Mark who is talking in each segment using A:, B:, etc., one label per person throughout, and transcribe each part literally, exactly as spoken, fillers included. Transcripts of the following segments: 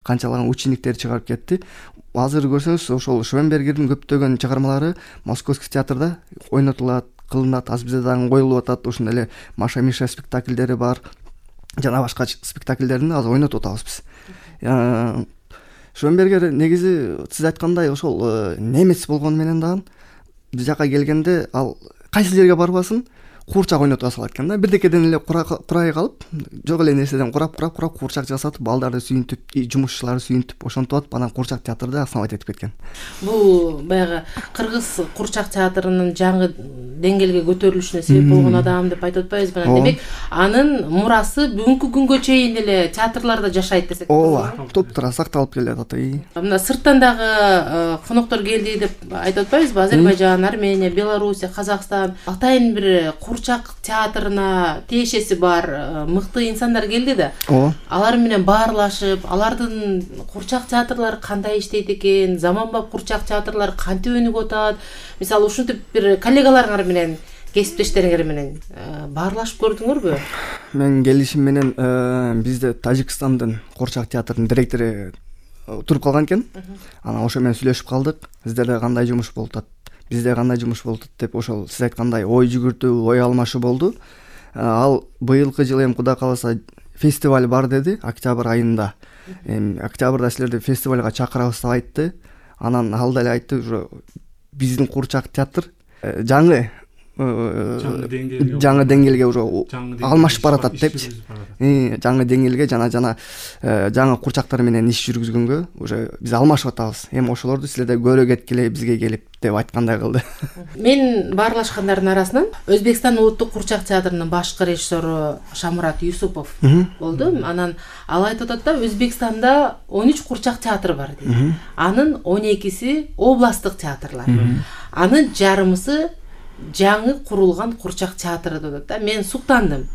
A: канчалаган учениктер чыгарып кетти. Азыр көрсөңүз ошол Швенбергердин көптөгөн чыгармалары Московский театрда ойнотулат, кылынат, азыр бизде дагы коюлуп атат. Ушундай эле Маша Миша спектакльдери бар, жана башка спектакльдерин азыр ойнотуп атабыз биз. Швенбергер негизи сиз айткандай ошол немец болгону менен дагы биз жака келгенде ал кайсы жерге барбасын куурчак ойнотуп салат экен да. Бирдекеден эле курай калып, жок эле нерседен курап курап курап куурчак жасатып, балдарды сүйүнтүп, жумушчуларды сүйүнтүп ошентип атып, анан куурчак театрда основать этип кеткен.
B: Бул баягы кыргыз куурчак театрынын жаңы деңгээлге көтөрүлүшүнө себеп болгон адам деп айтып атпайбызбы? Демек, анын мурасы бүгүнкү күнгө чейин эле театрларда жашайт десек.
A: Ооба, топтура сакталып келет ата.
B: Мына сырттан дагы коноктор келди деп айтып атпайбызбы? Азербайжан, Армения, Белоруссия, Казакстан, атайын бир куурчак театрына тиешеси бар мыкты инсандар келди да. Алар менен баарлашып, алардын куурчак театрлары кандай иштейт экен, заманбап куурчак театрлар кантип өнүгүп атат. Мисалы, ушинтип бир коллегаларыңар менен, кесиптештериңер менен баарлашып көрдүңөрбү?
A: Мен келишим менен бизде Тажикстандын куурчак театрынын директору туруп калган экен. Анан ошо менен сүйлөшүп калдык. Сиздерде кандай жумуш болуп атат? Бизде кандай жумуш болуп атат деп ошол сиз айткандай ой жүгүртүү, ой алмашуу болду. Ал быйылкы жылы эми Кудай кааласа фестиваль бар деди, октябрь айында. Эми октябрда силерди фестивалга чакырабыз деп айтты. Анан ал деле айтты, уже биздин куурчак театр жаңы жаңы деңгээлге уже алмашып баратат депчи. Жаңы деңгээлге жана жана жаңы куурчактар менен иш жүргүзгөнгө уже биз алмашып атабыз. Эми ошолорду силерде көрө кеткиле бизге келип деп айткандай кылды.
B: Мен баарлашкандардын арасынан Өзбекстан улуттук куурчак театрынын башкы режиссеру Шамурат Юсупов болду. Анан ал айтып атат да, Өзбекстанда он үч куурчак театр бар дейт. Анын он экиси областтык театрлар. Анын жарымысы жаңы курулган куурчак театры деп да. Мен суктандым.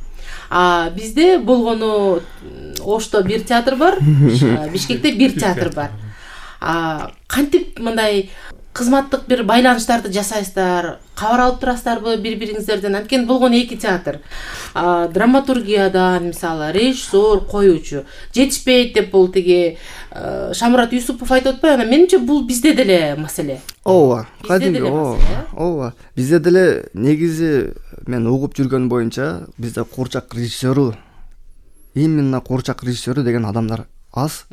B: А бизде болгону Ошто бир театр бар, Бишкекте бир театр бар. А кантип мындай кызматтык бир байланыштарды жасайсыздар, кабар алып турасыздарбы бири-бириңиздерден? Анткени болгону эки театр. А драматургиядан, мисалы, режиссер, коюучу жетишпейт деп бул тиги Шамурат Юсупов айтып атпайбы? Анан менимче бул бизде деле маселе.
A: Ооба, кадимги, ооба. Бизде деле негизи мен угуп жүргөн боюнча бизде куурчак режиссеру, именно куурчак режиссеру деген адамдар аз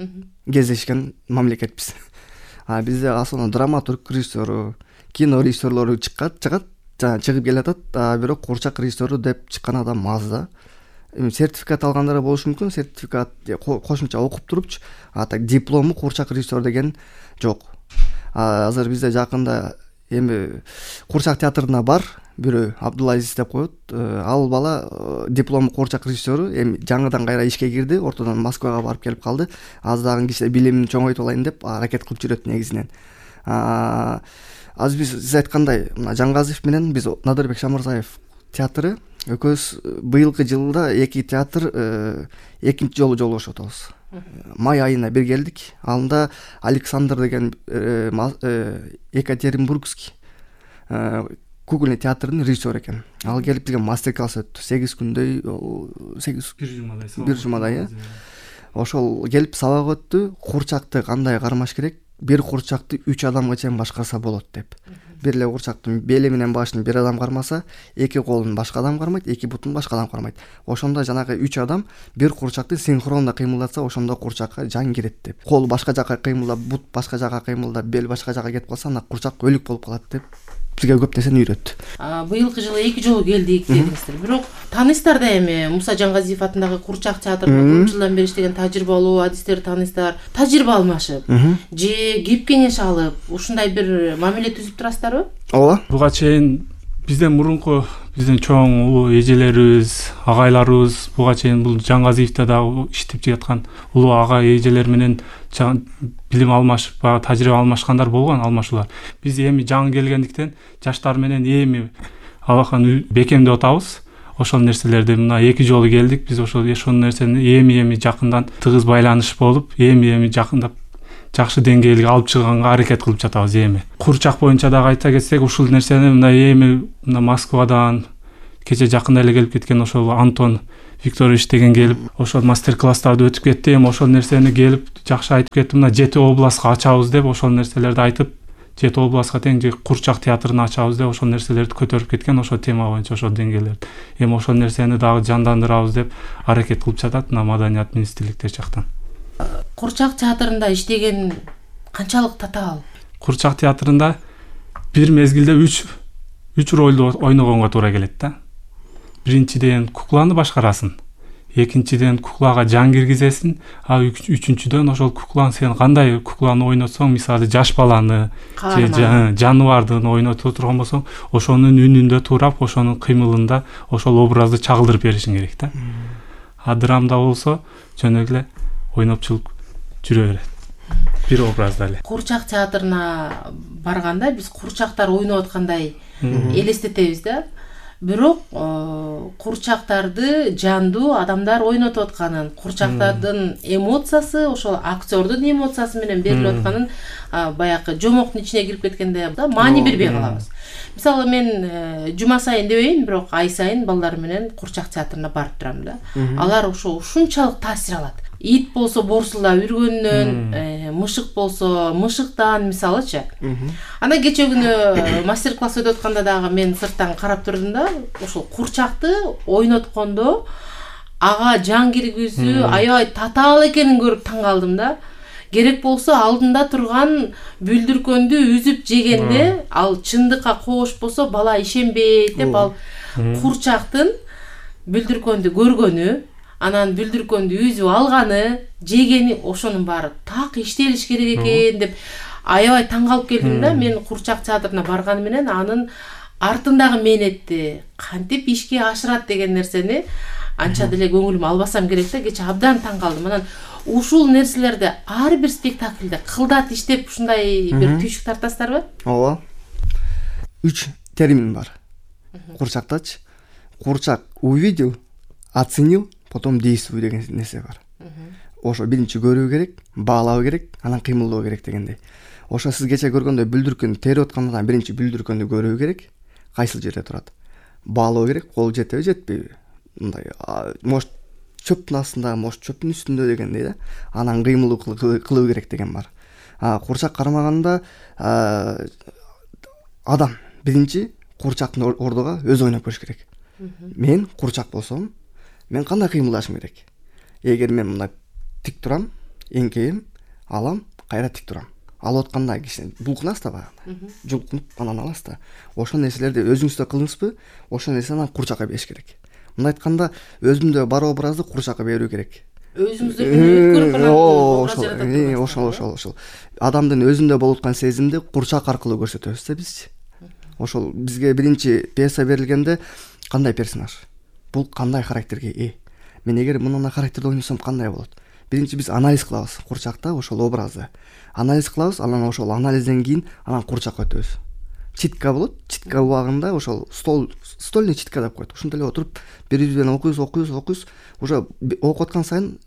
A: кездешкен мамлекетпиз. А бизде асыл драматург режиссеру, кино режиссерлору чыккат, чыгат, жана чыгып келатат, а бирок куурчак режиссеру деп чыккан адам аз да. Эми сертификат алгандар болушу мүмкүн, сертификат кошумча окуп турупчу, а так диплому куурчак режиссер деген жок. Азыр бизде жакында эми куурчак театрына бар бирөө Абдулазиз деп коет. Ал бала диплом куурчак режиссеру, эми жаңыдан кайра ишке кирди, ортодон Москвага барып келип калды. Аз дагы кичине билимин чоңойтуп алайын деп аракет кылып жүрөт негизинен. Азыр биз сиз айткандай, мына Жаңгазиев менен биз Надырбек Шамырзаев театры экөөбүз быйылкы жылда эки театр экинчи жолу жолугушуп атабыз. Май айына бир келдик. Анда Александр деген Екатеринбургский кукольный театрдын режиссеру экен. Ал келип бизге мастер-класс өттү. сегиз күндөй, сегиз бир жумадай. Ошол келип сабак өттү. Куурчакты кандай кармаш керек? Бир куурчакты үч адамга чейин башкарса болот деп. Бир эле куурчактын бели менен башын бир адам кармаса, эки колун башка адам кармайт, эки бутун башка адам кармайт. Ошондо жанагы үч адам бир куурчакты синхронно кыймылдатса, ошондо куурчакка жан кирет деп. Кол башка жака кыймылдап, бут башка жака кыймылдап, бел башка жака кетип калса, ана куурчак өлүк болуп калат деп бизге көп нерсени үйрөттү.
B: Быйылкы жылы эки жолу келдик дедиңиздер. Бирок таанысыздар да эми Муса Жаңгазиев атындагы куурчак театрында көп жылдан бери иштеген тажрыйбалуу адистерди таанысыздар. Тажрыйба алмашып, же кеп кеңеш алып, ушундай бир мамиле түзүп турасыздарбы?
C: Ооба. Буга чейин бизден мурунку биздин чоң улуу эжелерибиз, агайларыбыз буга чейин бул Жаңгазиевде дагы иштеп жаткан улуу ага эжелер менен билим алмашып, тажрыйба алмашкандар болгон, алмашуулар. Биз эми жаңы келгендиктен жаштар менен эми алакан бекемдеп атабыз. Ошол нерселерди мына эки жолу келдик. Биз ошол ошол нерсени эми-эми жакындан тыгыз байланыш болуп, эми-эми жакындап жакшы деңгээлге алып чыганга аракет кылып жатабыз эми. Куурчак боюнча дагы айта кетсек, ушул нерсени мына эми мына Москвадан кече жакында эле келип кеткен ошол Антон Викторович деген келип ошол мастер класстарды өтүп кетти. Эми ошол нерсени келип жакшы айтып кетти. Мына жети областка ачабыз деп ошол нерселерди айтып, жети областка тең курчак театрын ачабыз деп ошол нерселерди көтөрүп кеткен, ошол тема боюнча ошол деңгээлерди. Эми ошол нерсени дагы жандандырабыз деп аракет кылып жатат мына Маданият министрликтер жактан.
B: Курчак театрында иштеген канчалык татаал?
C: Курчак театрында бир мезгилде үч үч ролду ойногонго туура келет да. Биринчиден кукланы башкарасың, экинчиден куклага жан киргизесиң, а үчүнчүдөн ошол кукланы сен кандай кукланы ойнотсоң, мисалы жаш баланы же жаныбардын ойнотуп турган болсоң, ошонун үнүндө туурап, ошонун кыймылында ошол образды чагылдырып беришиң керек да. А драмда болсо жөн эле ойнопчулук жүрө берет. Бир образда эле.
B: Курчак театрына барганда биз курчактар ойноп аткандай элестетебиз да. Бирок курчактарды жандуу адамдар ойнотуп атканын, курчактардын эмоциясы ошол актёрдун эмоциясы менен берилип атканын баягы жомоктун ичине кирип кеткенде маани бербей калабыз. Мисалы мен жума сайын дебейин, бирок ай сайын балдар менен курчак театрына барып турам да. Алар ошо ушунчалык таасир алат. Ит болсо борсулдап үргөндөн, мышык болсо мышыктан, мисалычы. Анан кече күнү мастер класс өтүп атканда дагы мен сырттан карап турдум да, ошол курчакты ойноткондо ага жан киргизүү аябай татаал экенин көрүп таң калдым да. Керек болсо алдында турган бүлдүркөндү үзүп жегенде ал чындыкка коош болсо бала ишенбейт деп, ал курчактын бүлдүркөндү көргөнү, анан бүлдүркөндү үзүп алганы, жегени, ошонун баары так иштелиш керек экен деп аябай таң калып келдим да. Мен курчак театрына барганы менен анын артындагы мээнетти кантип ишке ашырат деген нерсени анча деле көңүлүм албасам керек да. Кече абдан таң калдым. Анан ушул нерселерди ар бир спектакльде кылдат иштеп ушундай бир түйшүк тартасыздарбы?
A: Ооба. Үч термин бар курчактачы. Курчак увидел, оценил, потом действуй деген нерсе бар. Ошо биринчи көрүү керек, баалоо керек, анан кыймылдоо керек дегендей. Ошо сиз кече көргөндөй бүлдүркөнү терип аткандан биринчи бүлдүркөнү көрүү керек, кайсыл жерде турат. Баалоо керек, кол жетеби, жетпейби. Мындай может чөптүн астында, может чөптүн үстүндө дегендей да. Анан кыймылдоо кылуу керек деген бар. Курчак кармаганда адам биринчи курчактын ордуга өзү ойноп көрүш керек. Мен курчак болсом, мен кандай кыймылдашым керек? Эгер мен мындай тик турам, эңкейем, алам, кайра тик турам. Алып атканда киши булкунасыз да баягы. Жулкунуп анан аласыз да. Ошол нерселерди өзүңүздө кылдыңызбы? Ошол нерсени курчакка бериш керек. Мындай айтканда, өзүмдө бар образды курчакка берүү керек.
B: Өзүңүздө көрүп анан
A: ошол ошол ошол. Адамдын өзүндө болуп аткан сезимди курчак аркылуу көрсөтөбүз да бизчи. Ошол бизге биринчи пьеса берилгенде кандай персонаж? Бул кандай характерге ээ? Мен эгер мындай характерди ойносом кандай болот? Биринчи биз анализ кылабыз курчакта ошол образды. Анализ кылабыз, анан ошол анализден кийин анан курчакка өтөбүз. Читка болот. Читка убагында ошол стол стольный читка деп коет. Ушунда эле отуруп бири биринен окуйбуз, окуйбуз, окуйбуз. Уже окуп аткан сайын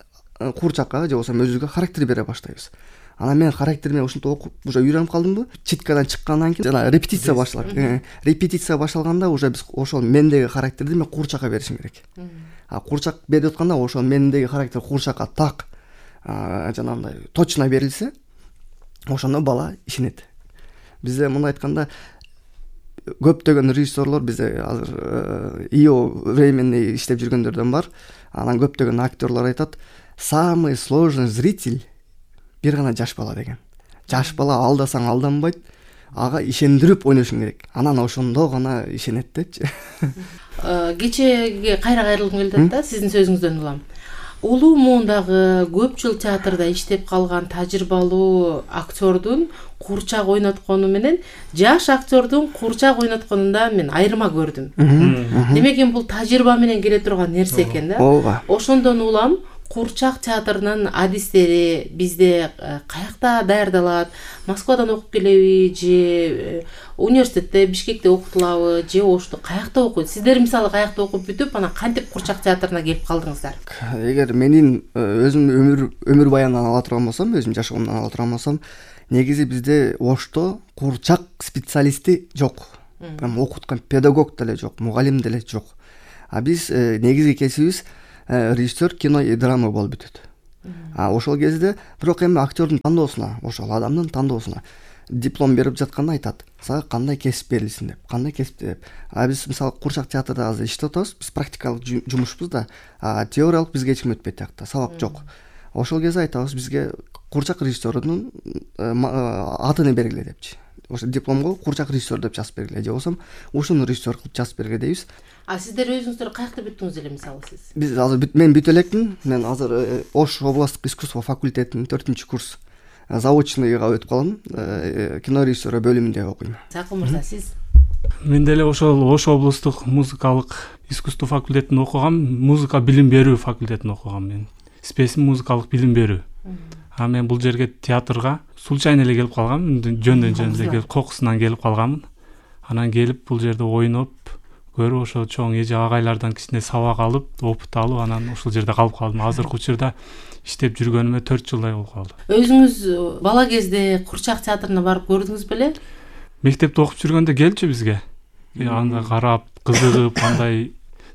A: курчакка же болбосо өзүгө характер бере баштайбыз. Анан мен характериме ушинтип окуп уже үйрөнүп калдымбы? Читкадан чыккандан кийин жана репетиция башталат. Репетиция башталганда уже биз ошол мендеги характерди мен курчакка беришим керек. А курчак берип атканда ошол мендеги характер курчакка так жанагындай точно берилсе, ошондо бала ишенет. Бизде мындай айтканда көптөгөн режиссерлор бизде азыр ИО временный иштеп жүргөндөрдөн бар. Анан көптөгөн актерлор айтат, самый сложный зритель бир гана жаш бала деген. Жаш бала алдасаң алданбайт, ага ишендирип ойношуң керек. Анан ошондо гана ишенет депчи.
B: Кечеге кайра кайрылгым келип атат да, сиздин сөзүңүздөн улам. Улуу муундагы көп жыл театрда иштеп калган тажрыйбалуу актёрдун курчак ойноткону менен жаш актёрдун курчак ойнотконунда мен айырма көрдүм. Демек эми бул тажрыйба менен келе турган нерсе экен да.
A: Ооба.
B: Ошондон улам курчак театрынын адистери бизде каякта даярдалат? Москвадан окуп келеби же университетте, Бишкекте окутулабы же Ошто каякта окуйт? Сиздер мисалы каякта окуп бүтүп, анан кантип курчак театрына келип калдыңыздар?
A: Эгер менин өзүмдүн өмүр өмүр баянынан ала турган болсом, өзүм жашоомдон ала турган болсом, негизи бизде Ошто курчак специалисти жок. Прям окуткан педагог деле жок, мугалим деле жок. а биз негизги кесибибиз режиссер, кино и драма болуп бүтөт. А ошол кезде бирок эми актёрдун тандоосуна, ошол адамдын тандоосуна диплом берип жатканда айтат, сага кандай кесип берилсин деп, кандай кесип деп. А биз мисалы Курчак театрда азыр иштеп атабыз, биз практикалык жумушпуз да, а теориялык бизге эч ким өтпөйт тиякта, сабак жок. Ошол кезде айтабыз, бизге Курчак режиссерунун атын бергиле депчи. Ошо дипломго Курчак режиссер деп жазып бергиле, же болбосо ушуну режиссер кылып жазып бергиле дейбиз.
B: А сиздер өзүңүздөр каякта бүттүңүз эле мисалы сиз?
A: Биз азыр мен бүтө элекмин. Мен азыр Ош областтык искусство факультетинин төртүнчү курс заочныйга өтүп калдым. Кино режиссеры бөлүмүндө окуйм.
B: Сакын мырза, сиз?
C: Мен деле ошол Ош облустук музыкалык искусство факультетин окугам, музыка билим берүү факультетин окугам мен. Спесим музыкалык билим берүү. А мен бул жерге театрга случайно эле келип калгам, жөндөн жөн эле келип, кокусунан келип калганмын. Анан келип бул жерде ойноп, көрүп ошо чоң эже агайлардан кичине сабак алып, опыт алып, анан ушул жерде калып калдым. Азыркы учурда иштеп жүргөнүмө төрт жылдай болуп калды.
B: Өзүңүз бала кезде Курчак театрына барып көрдүңүз беле?
C: Мектепте окуп жүргөндө келчү бизге. Анда карап, кызыгып, андай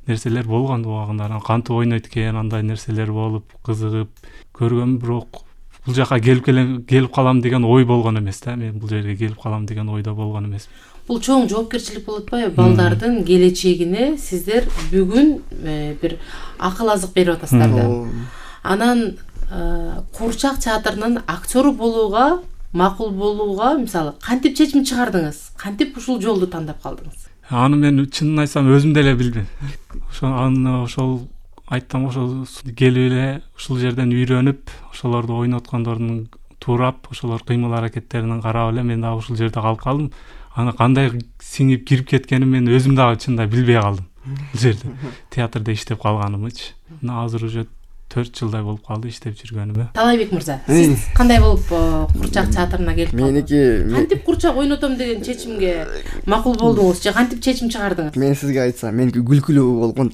C: нерселер болгон убагында. Анан кантип ойнойт экен, андай нерселер болуп, кызыгып көргөм, бирок бул жака келип келип калам деген ой болгон эмес да. Мен бул жерге келип калам деген ойдо болгон эмес.
B: Бул чоң жоопкерчилик болуп атпайбы? Балдардын келечегине сиздер бүгүн бир акыл азык берип атасыздар да. Анан Курчак театрынын актёру болууга, макул болууга мисалы кантип чечим чыгардыңыз? Кантип ушул жолду тандап калдыңыз?
C: Аны мен чынын айтсам өзүм деле билбейм. Ошо аны ошол айттым, ошол келип эле ушул жерден үйрөнүп, ошолорду ойноткондордун туурап, ошолор кыймыл аракеттерин карап эле мен дагы ушул жерде калып калдым. Аны кандай сиңип кирип кеткенин мен өзүм дагы чында билбей калдым. Бул жерде театрда иштеп калганымычы. Азыр уже төрт жылдай болуп калды иштеп жүргөнүмө.
B: Талайбек мырза, сиз кандай болуп Курчак театрына келип калдыңыз?
A: Меники
B: кантип Курчак ойнотом деген чечимге макул болдуңуз же кантип чечим чыгардыңыз?
A: Мен сизге айтсам, меники күлкүлүү болгон.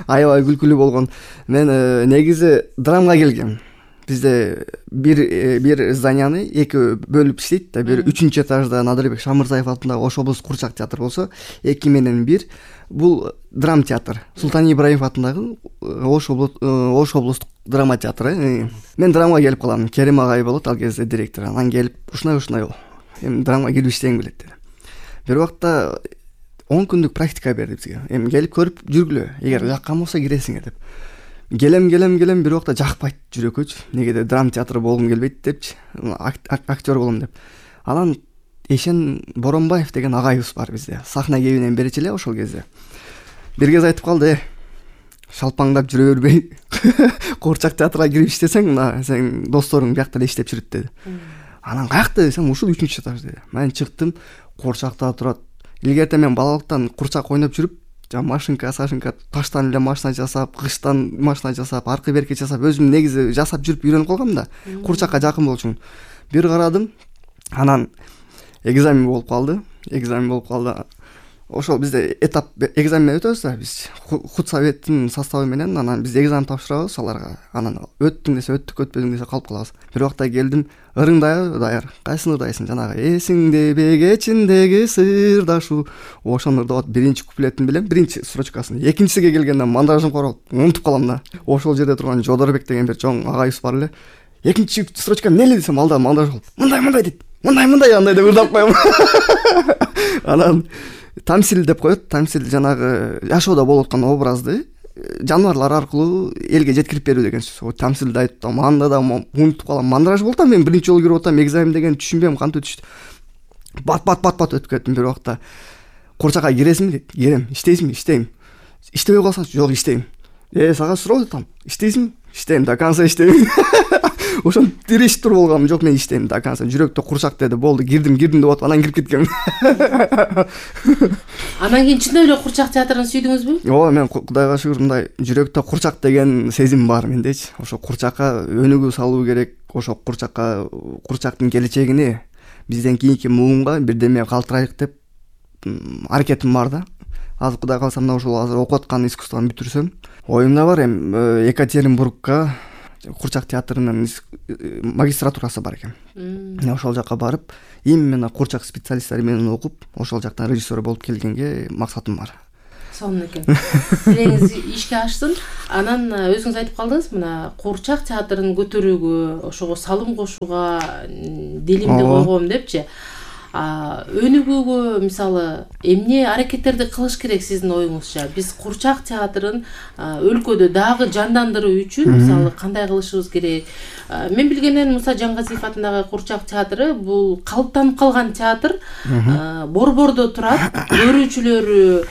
A: Аябай күлкүлүү болгон. Мен негизи драмага келгем. Бизде бир бир зданияны эки бөлүп иштейт да. Бир үчүнчү этажда Надырбек Шамырзаев атындагы Ош облустук Курчак театр болсо, эки менен бир бул драм театр. Султан Ибраимов атындагы Ош облустук драма театры. Мен драмага келип калам. Керим агай болот ал кезде директор. Анан келип ушунай ушунай бол. Эми драмага кирип иштегим келет деди. Бир убакта он күндүк практика берди бизге. Эми келип көрүп жүргүлө. Эгер жаккан болсо киресиңер деп. Келем келем келем бир убакта жакпайт жүрөккөчү. Негеде драм театры болгум келбейт депчи. Актер болом деп. Анан Эшен Боронбаев деген агайыбыз бар бизде. Сахна кебинен берчи эле ошол кезде. Бир кез айтып калды: "Шалпаңдап жүрө бербей, Курчак театрга кирип иштесең, мына сен досторуң биякта эле иштеп жүрөт" деди. Анан каякта десем, ушул үчүнчү этаж деди. Мен чыктым, Курчакта турат. Илгерте мен балалыктан Курчак ойноп жүрүп, машинка, сашинка, таштан эле машина жасап, кыштан машина жасап, аркы берки жасап, өзүм негизи жасап жүрүп үйрөнүп калгам да. Курчакка жакын болчу үчүн. Бир карадым, анан экзамен болуп калды. Экзамен болуп калды. Ошол бизде этап экзамен өтөбүз да, биз худсоветтин составы менен, анан биз экзамен тапшырабыз аларга. Анан өттүң десе өттүк, өтпөдүң десе калып калабыз. Бир убакта келдим, ырыңдай даяр. Кайсын ырдайсың? Жанагы эсиңде бегечиндеги сырдашу. Ошону ырдап биринчи куплетин билем, биринчи строчкасын. Экинчисиге келгенде мандажым королуп, унутуп калам да. Ошол жерде турган Жодорбек деген бир чоң агайыбыз бар эле. Экинчи строчка эмне десем, алда мандаж болуп, мындай мындай дейт. Мындай мындай андай деп ырдап коем. Анан тамсил деп коет. Тамсил жанагы жашоодо болуп аткан образды жаныбарлар аркылуу элге жеткирип берүү деген сөз. Тамсилди айтып, анда да унутуп калам. Мандраж болуп атам, мен биринчи жолу кирип атам, экзамен деген түшүнбөйм, кантип өтүштү. Бат бат бат бат өтүп кеттим. Бир убакта Курчакка киресиңби дейт. Кирем. Иштейсиңби? Иштейм. Иштебей калсаң, жок, иштейм. Э, сага суроо айтам. Иштейсиңби? Иштейм, до конца иштейм. Ошон тирешип туруп болгам, жок, мен иштейм до конца. Жүрөктө Курчак деди, болду, кирдим, кирдим деп атып, анан кирип кеткем.
B: Анан кийин чындап эле Курчак театрын сүйдүңүзбү?
A: Ооба, мен Кудайга шүгүр, мындай жүрөктө Курчак деген сезим бар мендечи. Ошо Курчакка өнүгүү салуу керек. Ошо Курчакка, Курчактын келечегине, бизден кийинки муунга бирдеме калтырайлык деп аракетим бар да. Азыр Кудай кааласа, мына ушул азыр окуп аткан искусствону бүтүрсөм, оюмда бар. Эми Екатеринбургка Курчак театрынын магистратурасы бар экен. Ошол жака барып, именно Курчак специалисттери менен окуп, ошол жактан режиссер болуп келгенге максатым бар.
B: сонун экен. Тилеңиз ишке ашсын. Анан өзүңүз айтып калдыңыз, мына Куурчак театрын көтөрүүгө, ошого салым кошууга дилимди койгом депчи. Өнүгүүгө мисалы эмне аракеттерди кылыш керек сиздин оюңузча? Биз Куурчак театрын өлкөдө дагы жандандыруу үчүн мисалы кандай кылышыбыз керек? Мен билгенден Муса Жаңгазиев атындагы Куурчак театры бул калыптанып калган театр, борбордо турат, көрүүчүлөрү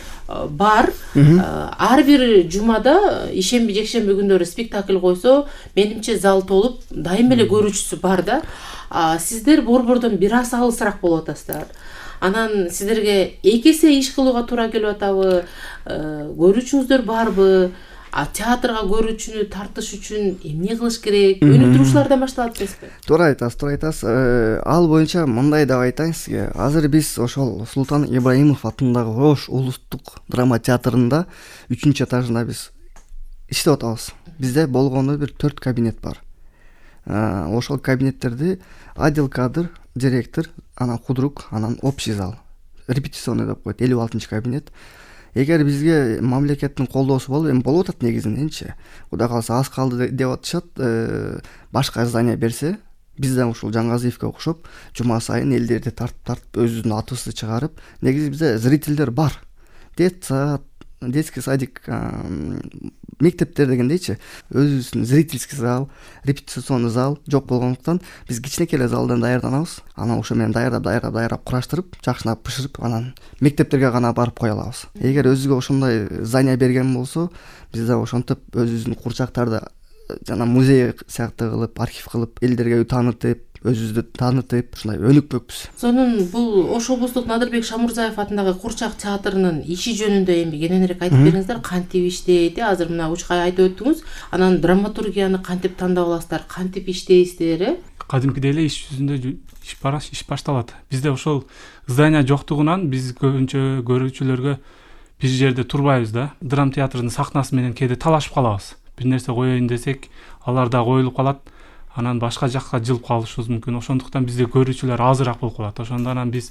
B: бар. Ар бир жумада ишемби жекшемби күндөрү спектакль койсо, менимче зал толуп, дайым эле көрүүчүсү бар да. Сиздер борбордон бир аз алысыраак болуп атасыздар. Анан сиздерге эки эсе иш кылууга туура келип атабы? Көрүүчүңүздөр барбы? А театрга көрүүчүнү тартыш үчүн эмне кылыш керек? Өнүктүрүүлөрдөн башталат эмеспи?
A: Туура айтасыз, туура айтасыз. Ал боюнча мындай деп айтайын сизге. Азыр биз ошол Султан Ибраимов атындагы Ош улуттук драма театрында үчүнчү этажында биз иштеп атабыз. Бизде болгону бир төрт кабинет бар. Ошол кабинеттерди отдел кадр, директор, анан худрук, анан общий зал, репетиционный деп коет, элүү алтынчы кабинет. Эгер бизге мамлекеттин колдоосу болуп, эми болуп атат негизиненчи. Кудай кааласа аз калды деп атышат, башка здание берсе, бизден ушул Жаңгазиевке окшоп, жума сайын элдерди тартып-тартып өзүбүздүн атыбызды чыгарып, негизи бизде зрительдер бар. Детсад, детский садик, мектептер дегендейчи, өзүбүздүн зрительский зал, репетиционный зал жок болгондуктан биз кичинекей эле залдан даярданабыз. Анан ошо менен даярдап, даярдап, даярдап кураштырып, жакшынап бышырып, анан мектептерге гана барып кое алабыз. Эгер өзүгө ошондой здание берген болсо, бизде ошентип өзүбүздүн курчактарды жана музей сыяктуу кылып, архив кылып, элдерге таанытып, өзүбүздү таанытып, ушундай өнүкпөкпүз.
B: Сонун бул Ош облустук Надырбек Шамурзаев атындагы Куурчак театрынын иши жөнүндө эми кененирээк айтып бериңиздер. Кантип иштейт? Азыр мына учкай айтып өттүңүз. Анан драматургияны кантип тандап аласыздар? Кантип иштейсиздер, э?
C: Кадимкидей эле иш жүзүндө иш бараш, иш башталат. Бизде ошол здание жоктугунан биз көбүнчө көрүүчүлөргө бир жерде турбайбыз да. Драм театрынын сахнасы менен кээде талашып калабыз. Бир нерсе коеюн десек, алар да коюлуп калат. Анан башка жакка жылып калышыбыз мүмкүн. Ошондуктан бизде көрүүчүлөр азыраак болуп калат. Ошондон биз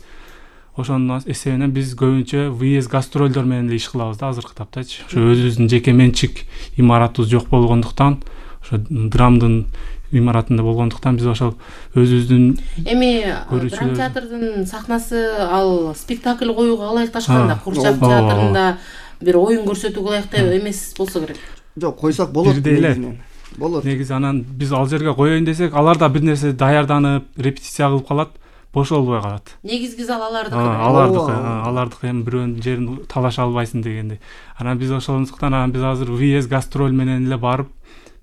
C: ошонун эсебинен биз көбүнчө выезд гастролдор менен эле иш кылабыз да азыркы таптачы. Ошо өзүбүздүн жеке менчик имаратыбыз жок болгондуктан, ошо драмдын имаратында болгондуктан биз ошол өзүбүздүн
B: эми драм театрдын сахнасы ал спектакль коюуга ылайыкташканда, Куурчак театрында бир оюн көрсөтүүгө ылайыктуу эмес болсо керек.
A: Жок, койсок болот негизинен. Болот.
C: Негизи анан биз ал жерге коеюн десек, алар да бир нерсе даярданып, репетиция кылып калат, бошолбой калат.
B: Негизги зал алардыкы.
C: Алардыкы, алардыкы эми бирөөнүн жерин талаша албайсың дегендей. Анан биз ошондуктан анан биз азыр выезд гастроль менен эле барып,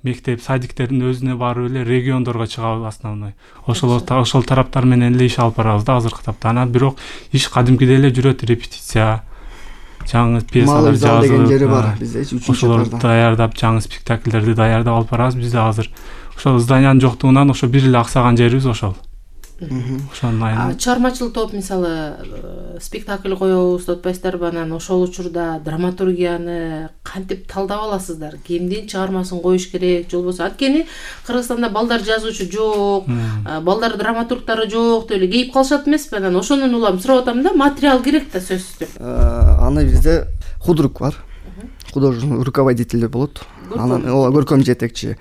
C: мектеп, садиктердин өзүнө барып эле региондорго чыгабыз основной. Ошол ошол тараптар менен эле иш алып барабыз да азыркы тапта. Анан бирок иш кадимкидей эле жүрөт, репетиция, жаңы пьесалар жазып
A: деген жери бар бизде үчүнчү
C: этажда. Ошолорду даярдап, жаңы спектакльдерди даярдап алып барабыз. Бизде азыр ошол зданиянын жоктугунан ошо бир эле аксаган жерибиз ошол. Ошонун айынан
B: чыгармачыл топ мисалы спектакль коебуз деп атпайсыздарбы? Анан ошол учурда драматургияны кантип талдап аласыздар? Кимдин чыгармасын коюш керек, же болбосо анткени Кыргызстанда балдар жазуучу жок, балдар драматургдары жок деп эле кейип калышат эмеспи? Анан ошонун улам сурап атам да, материал керек да сөзсүз түрдө.
A: Аны бизде худрук бар. Художественный руководитель болот. Анан көркөм жетекчи.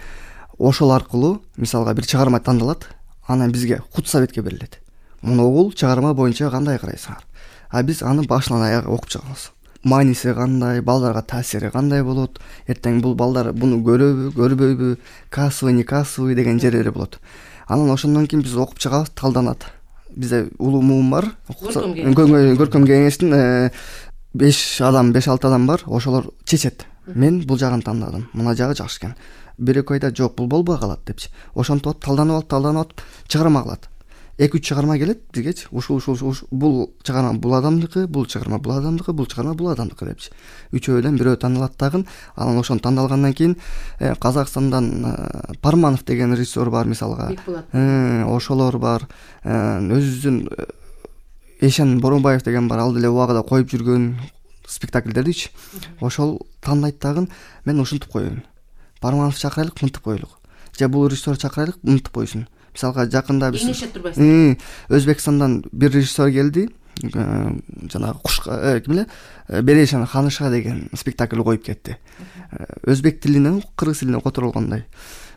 A: Ошол аркылуу мисалга бир чыгарма тандалат. Анан бизге худсоветке берилет. Муну чыгарма боюнча кандай карайсыңар? А биз аны башынан аягы окуп чыгабыз. Мааниси кандай, балдарга таасири кандай болот? Эртең бул балдар буну көрөбү, көрбөйбү? Кассовый, не кассовый деген жерлери болот. Анан ошондон кийин биз окуп чыгабыз, талданат. Бизде улуу муун бар. Көркөм кеңештин беш адам, беш алты адам бар. Ошолор чечет. Мен бул жагын тандадым. Мына жагы жакшы экен. Бир экөө айтат, жок, бул болбой калат депчи. Ошентип атып, талданып алып, талданып атып, чыгарма кылат. эки үч чыгарма келет бизгечи. Ушул ушул бул чыгарма бул адамдыкы, бул чыгарма бул адамдыкы, бул чыгарма бул адамдыкы депчи. Үчөөдөн бирөө тандалат дагы. Анан ошону тандалгандан кийин Казакстандан Парманов деген режиссер бар мисалга. Ошолор бар. Өзүбүздүн Эшен Боронбаев деген бар, ал деле убагында коюп жүргөн спектакльдердичи. Ошол тандайт дагы. Мен ушинтип коеюн. Парманов чакырайлык, мынтип коелук. Же бул режиссер чакырайлык, мынтип койсун. Мисалга жакында биз Өзбекстандан бир режиссер келди. жанагы кушка ким эле Берешан ханыша деген спектакль коюп кетти. Өзбек тилинен кыргыз тилине которулгандай.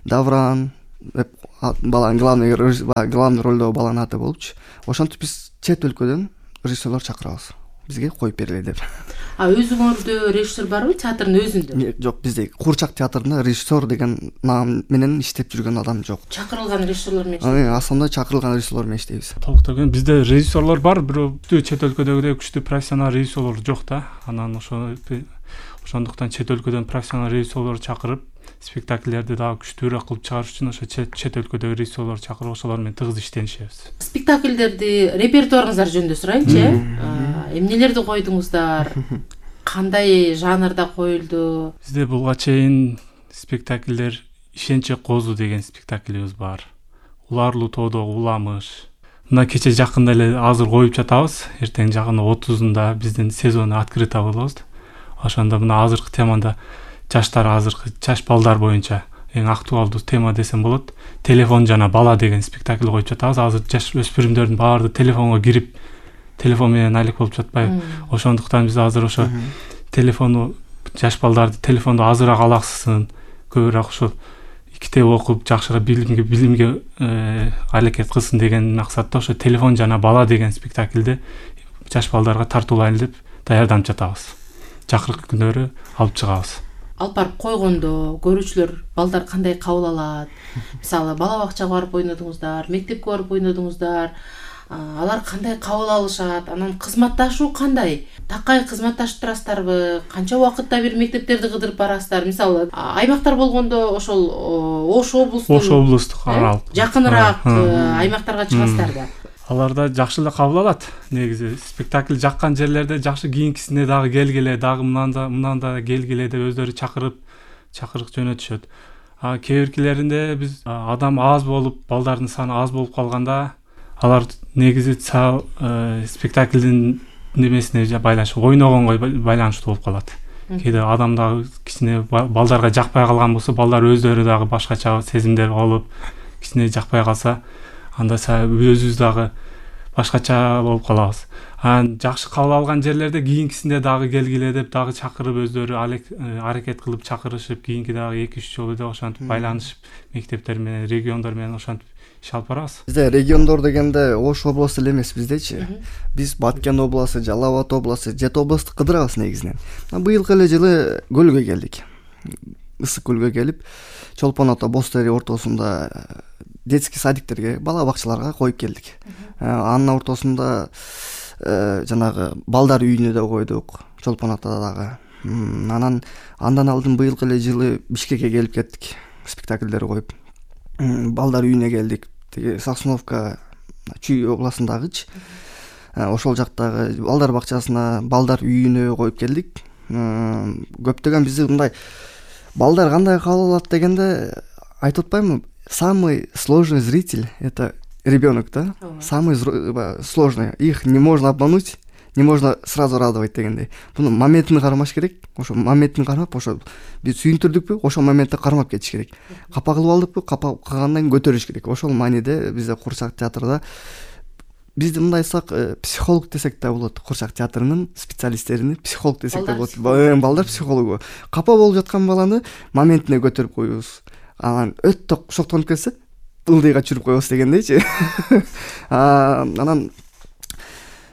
A: Давран деп баланын главный главный ролдогу баланын аты болупчу. Ошентип биз чет өлкөдөн режиссерлор чакырабыз. Бизге коюп бергиле деп.
B: А өзүңөрдө режиссер барбы театрдын өзүндө?
A: Жок, бизде Куурчак театрында режиссер деген наам менен иштеп жүргөн адам жок.
B: Чакырылган режиссерлор менен иштейбиз.
A: Основной чакырылган режиссерлор менен иштейбиз.
C: Толуктаган бизде режиссерлор бар, бирок чет өлкөдөгүдөй күчтүү профессионал режиссерлор жок да. Анан ошо ошондуктан чет өлкөдөн профессионал режиссерлор чакырып, спектакльлерди дагы күчтүүрөөк кылып чыгарыш үчүн ошо чет өлкөдөгү режиссерлор чакырып, ошолор менен тыгыз иштенишебиз. Спектакльдерди
B: репертуарыңыздар жөнүндө сурайынчы. Эмнелерди койдуңуздар? Кандай жанрда коюлду?
C: Бизде буга чейин спектакльдер Ишенче козу деген спектакльибиз бар. Уларлуу тоодо уламыш. Мына кече жакында эле азыр коюп жатабыз. Эртең жагында отузунда биздин сезону открыто болобуз. Ошондо мына азыркы темада жаштар азыркы жаш балдар боюнча эң актуалдуу тема десем болот. Телефон жана бала деген спектакль коюп жатабыз. Азыр жаш өспүрүмдөрдүн баары телефонго кирип, телефон менен алек болуп жатпайбы? Ошондуктан биз азыр ошо телефону жаш балдарды телефонду азыраак алаксысын, көбүрөөк ошо китеп окуп, жакшыраак билимге билимге аракет кылсын деген максатта ошо телефон жана бала деген спектакльди жаш балдарга тартуулайлы деп даярданып жатабыз. Жакыркы күндөрү алып чыгабыз.
B: Алып барып койгондо көрүүчүлөр балдар кандай кабыл алат? Мисалы бала бакчага барып ойнодуңуздар, мектепке барып ойнодуңуздар, алар кандай кабыл алышат? Анан кызматташуу кандай? Такай кызматташып турасыздарбы? Канча убакытта бир мектептерди кыдырып барасыздар? Мисалы аймактар болгондо ошол Ош облустук,
C: Ош облустук аралык
B: жакыныраак аймактарга чыгасыздар да.
C: Алар да жакшы эле кабыл алат. Негизи спектакль жаккан жерлерде жакшы кийинкисине дагы келгиле, дагы мынанда мынанда келгиле деп өздөрү чакырып, чакырык жөнөтүшөт. А кээ биркилеринде биз адам аз болуп, балдардын саны аз болуп калганда, алар негизи спектаклдин немесине байланыштуу, ойногонго байланыштуу болуп калат. Кээде адам дагы кичине балдарга жакпай калган болсо, балдар өздөрү дагы башкача сезимдер болуп, кичине жакпай калса, анда өзүбүз дагы башкача болуп калабыз. Анан жакшы кабыл алган жерлерде кийинкисинде дагы келгиле деп дагы чакырып, өздөрү аракет кылып чакырышып, кийинки дагы эки үч жолу деп ошентип байланышып, мектептер менен, региондор менен ошентип иш алып барабыз.
A: Бизде региондор дегенде Ош областу эле эмес биздечи. Биз Баткен областу, Жалал Абад областу, жети областты кыдырабыз негизинен. Быйылкы эле жылы көлгө келдик. Ысык көлгө келип, Чолпон ата Бостери ортосунда детский садиктерге, бала бакчаларга коюп келдик. Анын ортосунда жанагы балдар үйүнө да койдук, Чолпон атада дагы. Анан андан алдын быйылкы эле жылы Бишкекке келип кеттик, спектакльдер коюп. Балдар үйүнө келдик. Тиги Сосновка Чүй областындагычы. Ошол жактагы балдар бакчасына, балдар үйүнө коюп келдик. Көптөгөн бизде мындай балдар кандай кабыл алат дегенде айтып атпаймынбы? Самый сложный зритель — это ребенок, да? Самый сложный. Их не можно обмануть, не можно сразу радовать дегендей. Буну моментин кармаш керек. Ошо моментин кармап, ошо биз сүйүндүрдүкпү, ошол моментте кармап кетиш керек. Капа кылып алдыкпы, капа кылгандан кийин көтөрүш керек. Ошол мааниде бизде Куурчак театрда бизди мындай айтсак, психолог десек да болот. Куурчак театрынын специалисттерини психолог десек да болот. Балдар психологу. Капа болуп жаткан баланы моментине көтөрүп коюбуз. Анан өтө шоктонуп кетсе, ылдыйга чүрүп коебуз дегендейчи. Анан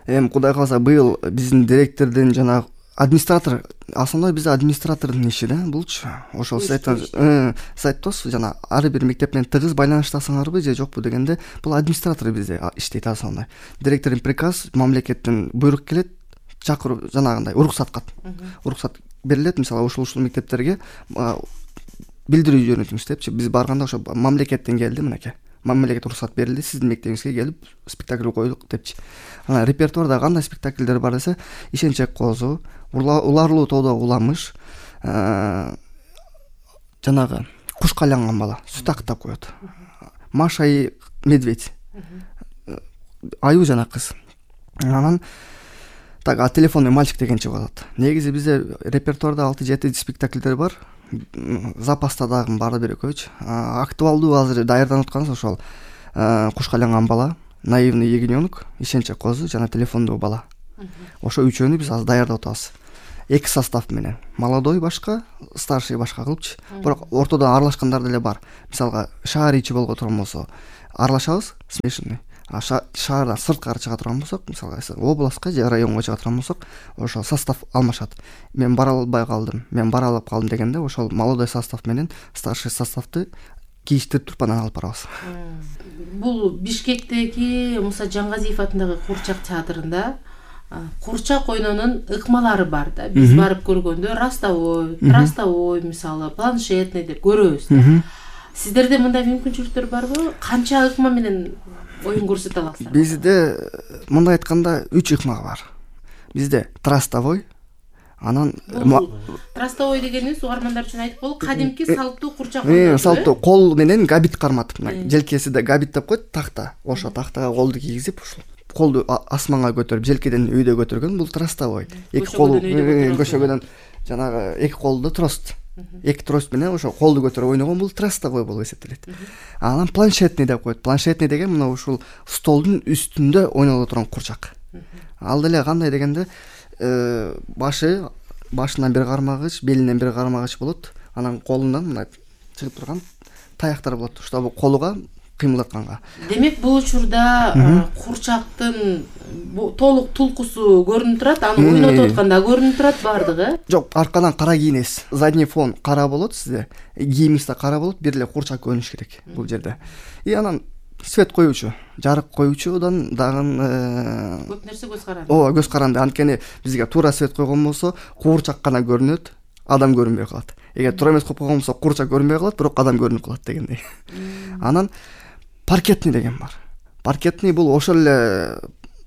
A: эми Кудай кааласа быйыл биздин директордун жана администратор, основной бизде администратордун иши да булчу. Ошол сайттос жана ар бир мектеп менен тыгыз байланыштасыңарбы же жокпу дегенде, бул администратор бизде иштейт основной. Директордун приказ, мамлекеттен буйрук келет, чакырып жанагындай уруксат кат. Уруксат берилет, мисалы ушул ушул мектептерге билдирүү жөнөтүңүз депчи. Биз барганда ошо мамлекеттен келди, мынакей. Мамлекет уруксат берилди, сиздин мектебиңизге келип спектакль коюлук депчи. Анан репертуарда кандай спектакльдер бар десе, Ишенче козу, Уларлуу тоодо уламыш, жанагы куш кайланган бала, сүт актап коет. Маша и медведь. Аю жана кыз. Анан так, а телефонный мальчик деген чыгып атат. Негизи бизде репертуарда алты жети спектакльдер бар. Запаста дагы баары бир экөөчү. Актуалдуу азыр даярданып атканыбыз ошол куш кайланган бала, наивный ягненок, ишенчек козу жана телефондуу бала. Ошо үчөөнү биз азыр даярдап атабыз. Эки состав менен. Молодой башка, старший башка кылыпчы. Бирок ортодон аралашкандар деле бар. Мисалга шаар ичи болго турган болсо аралашабыз, смешанный. А шаардан сырткары чыга турган болсок, мисалга областка же районго чыга турган болсок, ошо состав алмашат. Мен бара албай калдым, мен бара алып калдым дегенде ошол молодой состав менен старший составты кийиштирип туруп анан алып барабыз.
B: Бул Бишкектеги Муса Жангазиев атындагы Курчак театрында курчак ойнонун ыкмалары бар да. Биз барып көргөндө растовой, трастовой, мисалы, планшетный деп көрөбүз да. Сиздерде мындай мүмкүнчүлүктөр барбы? Канча ыкма менен оюн көрсөтө аласыздар?
A: Бизде мындай айтканда үч ыкма бар. Бизде трастовой, анан
B: трастовой дегенибиз угармандар үчүн айтып коелу, кадимки салттуу курчак ойноо.
A: Салттуу кол менен габит карматып, желкесиде габит деп коет, такта. Ошо тактага колду кийгизип, ушул колду асманга көтөрүп, желкеден үйдө көтөргөн, бул трастовой. Эки кол көшөгөдөн жанагы эки колду трост. Эки трост менен ошо колду көтөрүп ойногон, бул трастовой болуп эсептелет. Анан планшетный деп коет. Планшетный деген мына ушул столдун үстүндө ойноло турган курчак. Ал деле кандай дегенде, башы башынан бир кармагыч, белинен бир кармагыч болот. Анан колунан мына чыгып турган таяктар болот. Ошто колуга кыймылдатканга.
B: Демек бул учурда курчактын толук тулкусу көрүнүп турат, аны ойнотуп атканда көрүнүп турат бардыгы?
A: Жок, аркадан кара кийинесиз. Задний фон кара болот сизде. Кийимиңиз да кара болот, бир эле курчак көрүнүш керек бул жерде. И анан свет коюучу, жарык коюучудан дагы
B: көп нерсе көз каранды.
A: Ооба, көз каранды. Анткени бизге туура свет койгон болсо, курчак гана көрүнөт, адам көрүнбөй калат. Эгер туура эмес коюп койгон болсо, курчак көрүнбөй калат, бирок адам көрүнүп калат дегендей. Анан паркетный деген бар. Паркетный бул ошол эле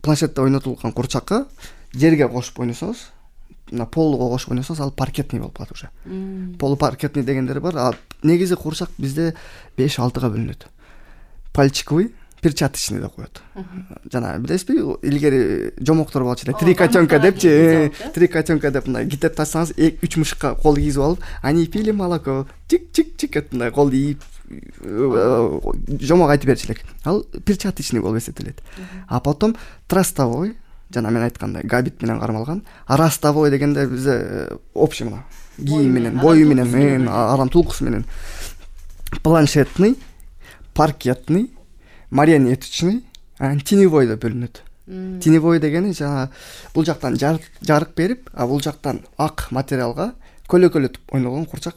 A: планшетте ойнотулган курчакка жерге кошуп ойносоңуз, мына полго кошуп ойносоңуз, ал паркетный болуп калат уже. Полу паркетный дегендер бар. А негизи курчак бизде беш алтыга бөлүнөт. Пальчиковый, перчаточный деп коет. Жана билесизби, илгери жомоктор болчу эле, три котенка депчи, три котенка деп мындай китеп тачсаңыз, үч мышыкка кол кийгизип алып, они пили молоко, чик-чик-чик деп мындай кол ийип жомок айтып берчү элек. Ал перчаточный болуп эсептелет. А потом трастовой, жана мен айткандай габит менен кармалган. А растовой дегенде бизде общий мына кийим менен, бою менен, адам тулкусу менен. Планшетный, паркетный, марионеточный, теневой деп бөлүнөт. Теневой дегени жана бул жактан жарык берип, а бул жактан ак материалга көлөкөлөтүп ойногон курчак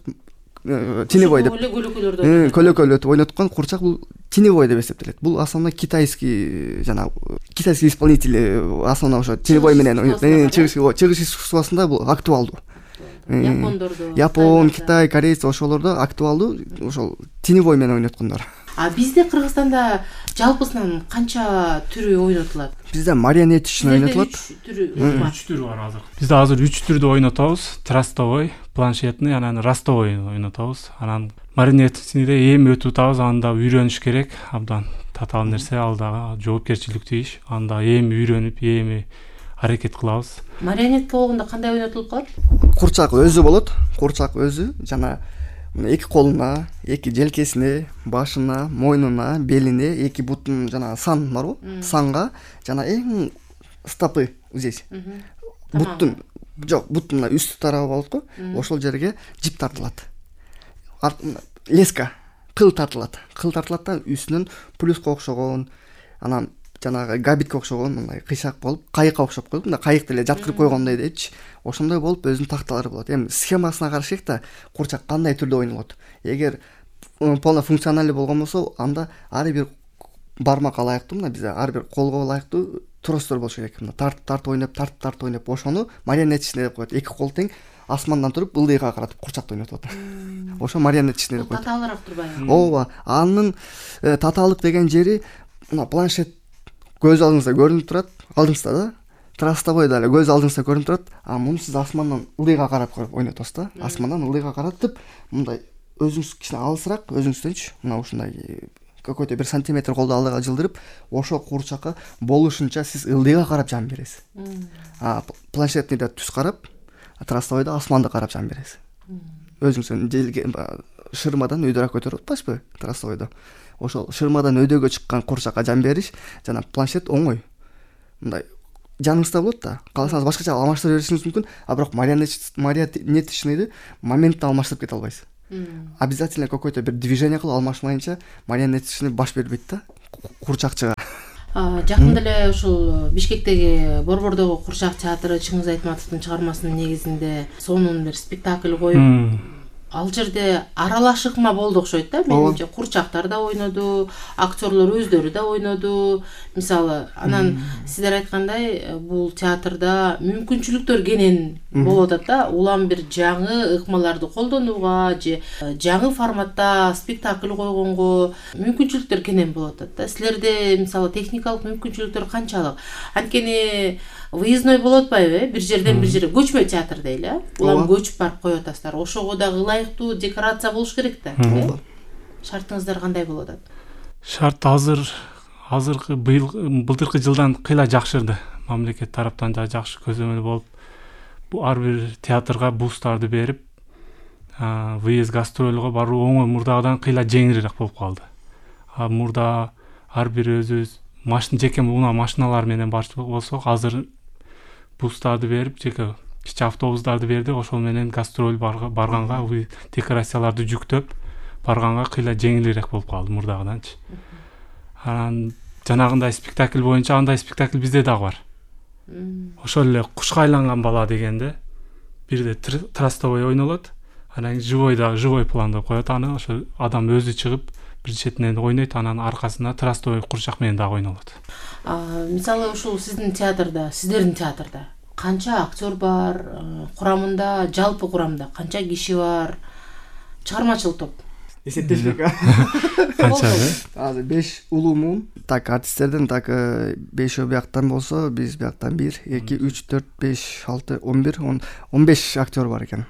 A: теневой деп. Көлөкөлөтүп ойноткон курчак бул теневой деп эсептелет. Бул основной китайский жана китайский исполнители основной ошо теневой менен чыгыш чыгыш искусствосунда бул актуалдуу.
B: Япондордо,
A: Япон, Китай, корейц ошолордо актуалдуу ошол теневой менен ойноткондор.
B: А бизде Кыргызстанда жалпысынан канча түрү ойнотулат?
A: Бизде марионеточный ойнотулат.
C: үч түрү бар азыр. Бизде азыр үч түрдү ойнотобуз. Трастовой, планшетный, анан растовой ойнотобуз. Анан марионеточныйде эми өтүп атабыз, анда үйрөнүш керек. Абдан татаал нерсе, ал дагы жоопкерчиликтүү иш. Анда эми үйрөнүп, эми аракет кылабыз.
B: Марионетка болгондо кандай ойнотулуп калат?
A: Курчак өзү болот. Курчак өзү жана эки колуна, эки желкесине, башына, мойнуна, белине, эки бутун жана сан барбы? Санга жана эң стопы здесь. Буттун, жок, буттун үстү тарабы болот го. Ошол жерге жип тартылат. Леска, кыл тартылат. Кыл тартылат да үстүнөн плюска окшогон, анан жанагы габитке окшогон мындай кыйшак болуп, кайыкка окшоп коюп, мындай кайык деле жаткырып койгондой дейчи. Ошондой болуп өзүнүн такталары болот. Эми схемасына каршы да курчак кандай түрдө ойнолот. Эгер полно функциональный болгон болсо, анда ар бир бармакка ылайыктуу, мына бизде ар бир колго ылайыктуу тростор болуш керек. Мына тартып тартып ойноп, тартып тартып ойноп, ошону марионеточный деп коет. Эки кол тең асмандан туруп ылдыйга каратып курчакты ойнотот. Ошо марионеточный деп коет.
B: Татаалыраак турбайбы?
A: Ооба. Анын татаалык деген жери мына планшет көз алдыңызда көрүнүп турат, алдыңызда да. Трастовой да эле көз алдыңызда көрүнүп турат. А муну сиз асмандан ылдыйга карап ойнотосуз да. Асмандан ылдыйга каратып, мындай өзүңүз кичине алысыраак, өзүңүздөнчү, мына ушундай какой-то бир сантиметр колду алдыга жылдырып, ошо курчакка болушунча сиз ылдыйга карап жан бересиз. А планшетныйда түз карап, трастовойдо асманды карап жан бересиз. Өзүңүздөн желге шырмадан өйдөрөөк көтөрүп атпайсызбы трастовойдо? ошол шырмадан өйдөгө чыккан куурчакка жан бериш жана планшет оңой. Мындай жаныңызда болот да, кааласаңыз башкача алмаштыра беришиңиз мүмкүн, а бирок марионеточныйды моментте алмаштырып кете албайсыз. Обязательно какой-то бир движение кылып алмашмайынча марионеточный баш бербейт да куурчакчыга.
B: Жакында эле ушул Бишкектеги Борбордогу Куурчак театры Чыңгыз Айтматовдун чыгармасынын негизинде сонун бир спектакль коюп, ал жерде аралаш ыкма болду окшойт да. Менимче куурчактар да ойноду, актерлор өздөрү да ойноду. Мисалы, анан сиздер айткандай, бул театрда мүмкүнчүлүктөр кенен болуп атат да. Улам бир жаңы ыкмаларды колдонууга же жаңы форматта спектакль койгонго мүмкүнчүлүктөр кенен болуп атат да. Силерде мисалы техникалык мүмкүнчүлүктөр канчалык? Анткени выездной болуп атпайбы, бир жерден бир жерге көчмө театр дейли, э? Улам көчүп барып коюп атасыздар. Ошого дагы ылайыктуу декорация болуш керек да, э? Шартыңыздар кандай болуп атат?
C: Шарт азыр азыркы быйыл былтыркы жылдан кыйла жакшырды. Мамлекет тараптан да жакшы көзөмөл болуп, бу ар бир театрга бустарды берип, выезд гастролго баруу оңой мурдагыдан кыйла жеңилирээк болуп калды. А мурда ар бир өзүбүз машина жеке унаа машиналар менен барчу болсок, азыр бустарды берип, жеке кичи автобустарды бердик, ошол менен гастроль барганга, декорацияларды жүктөп барганга кыйла жеңилирээк болуп калды мурдагыданчы. Анан жанагындай спектакль боюнча андай спектакль бизде дагы бар. Ошол эле Кушка айланган бала дегенде бирде трастовой ойнолот, анан живой да живой планда коет, аны ошо адам өзү чыгып бир четинен ойнойт, анан аркасына трастовой курчак менен дагы ойнолот.
B: Мисалы ушул сиздин театрда, сиздердин театрда канча актер бар, курамында, жалпы курамда канча киши бар? Чыгармачыл топ
A: эсептешпек.
C: Канча?
A: Азыр беш улуумун, так артисттерден так бешөө бияктан болсо, биз бияктан бир, эки, үч, төрт, беш, алты, он бир, он беш актер бар экен.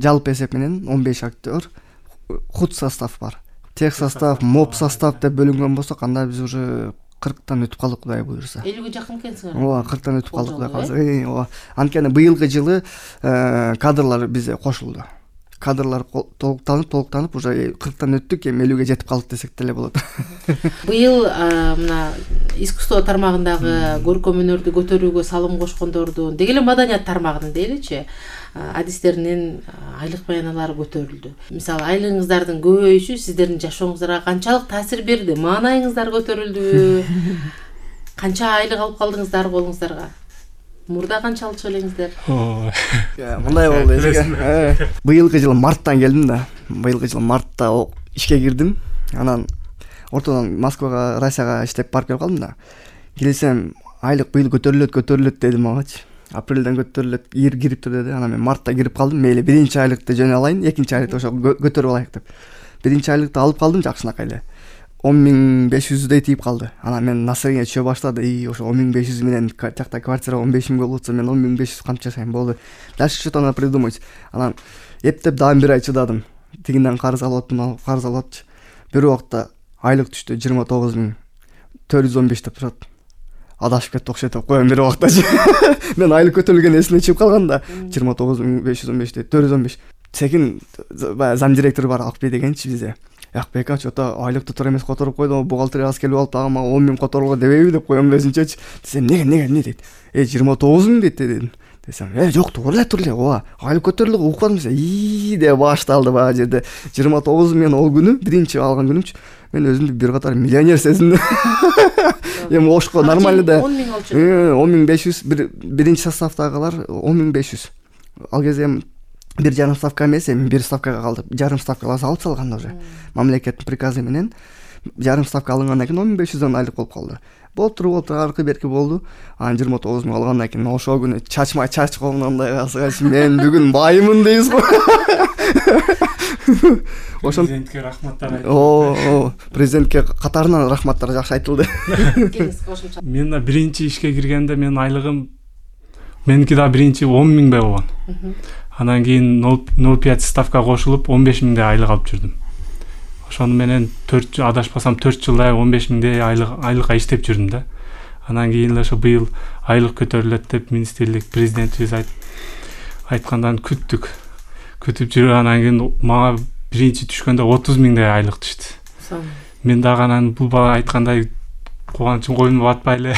A: Жалпы эсеп менен он беш актер, худ состав бар. Тех состав, моп состав деп бөлүнгөн болсо, кандай биз уже кырктан өтүп калдык, Кудай буюрса.
B: элүүгө жакын экенсиңер.
A: Ооба, кырктан өтүп калдык, Кудай калса. Ооба. Анткени быйылкы жылы кадрлар бизде кошулду. Кадрлар толуктанып, толуктанып, уже кырктан өттүк, эми элүүгө жетип калдык десек деле болот.
B: Быйыл мына искусство тармагындагы көркөм өнөрдү көтөрүүгө салым кошкондордун, деги эле маданият тармагынын дейличи, адистеринин айлык баяналары көтөрүлдү. Мисалы, айлыгыңыздардын көбөйүшү сиздердин жашооңуздарга канчалык таасир берди? Маанайыңыздар көтөрүлдүбү? Канча айлык алып калдыңыздар колуңуздарга? Мурда канча алчу элеңиздер?
A: Мындай болду эсеге. Быйылкы жылы марттан келдим да. Быйылкы жылы мартта ишке кирдим. Анан ортодон Москвага, Россияга иштеп барып келип калдым да. Келсем, айлык быйыл көтөрүлөт, көтөрүлөт деди магачы. Апрелден көтөрүлөт, ир кирип тур деди. Анан мен мартта кирип калдым. Мейли биринчи айлыкты жөнө алайын, экинчи айлыкты ошо көтөрүп алайык деп. Биринчи айлыкты алып калдым, жакшынакай эле. он миң беш жүздөй тийип калды. Анан мен настроение түшө баштады. И ошо он миң беш жүз менен жакта квартира он беш миң болуп атса, мен он миң беш жүз кантип жашайм болду. Дальше что-то надо придумать. Анан эптеп дагы бир ай чыдадым. Тигинден карыз алып аттым, карыз алып атчы. Бир убакта айлык түштү жыйырма тогуз миң төрт жүз он беш деп турат. Адашып кетти окшойт деп коем бир убактачы. Мен айлык көтөрүлгөн эсине чыгып калган да. жыйырма тогуз миң беш жүз он беш төрт жүз он беш. Секин зам директор бар, Акбек дегенчи бизде. Акбек ачы ата айлыкты тура эмес которуп койду, бухгалтерияга келип алып дагы мага он миң которууга дебейби деп коем өзүнчөчү. Десем, неге неге эмне дейт? Э жыйырма тогуз миң дейт дедим. Десем, э жок, туура эле, туура эле. Ооба, айлык көтөрүлдү, укпадым десе. И деп башталды баа жерде. жыйырма тогуз миң мен ол күнү, биринчи алган күнүмчү, мен өзүмдү бир катар миллионер сезиндим. Эми ошко нормально да.
B: он миң алчу.
A: он миң беш жүз биринчи составдагылар он миң беш жүз. Ал кезде бир жарым ставка эмес, эми бир ставкага калды. Жарым ставкалар алып салган уже. Мамлекеттин приказы менен жарым ставка алынгандан кийин он миң беш жүздөн айлык болуп калды. Болтур болтур аркы берки болду. Анан жыйырма тогуз миң алгандан кийин ошол күнү чачма чач колундай касыгач мен бүгүн баймын дейбиз го. Ошон
C: президентке рахматтар айтып.
A: О, президентке катарынан рахматтар жакшы айтылды.
C: Мен да биринчи ишке киргенде мен айлыгым меники да биринчи он миңдей болгон. Анан кийин ноль пять ставка кошулуп он беш миңдей айлык алып жүрдүм. Ошону менен төрт адашпасам төрт жылдай он беш миңдей айлык айлыкка иштеп жүрдүм да. Анан кийин эле ошо быйыл айлык көтөрүлөт деп министрлик президентибиз айткандан күттүк. Күтүп жүрүп анан кийин мага биринчи түшкөндө отуз миңдей айлык түштү. мен дагы анан бул бала айткандай кубанычым коюнума батпай эле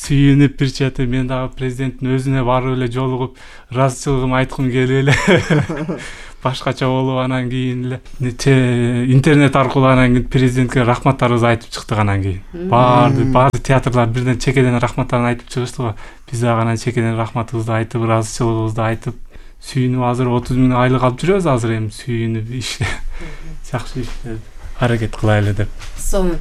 C: сүйүнүп бир чети мен дагы президенттин өзүнө барып эле жолугуп ыраазычылыгымды айткым келип эле башкача болуп анан кийин эле интернет аркылуу анан кийин президентке рахматтарыбызды айтып чыктык. Анан кийин баары баары театрлар бирден чекеден рахматтарын айтып чыгышты го. Биз дагы анан чекеден рахматыбызды айтып, ыраазычылыгыбызды айтып сүйүнүп азыр отуз миң айлык алып жүрөбүз. Азыр эми сүйүнүп иште жакшы иште аракет кылайлы деп.
B: Сонун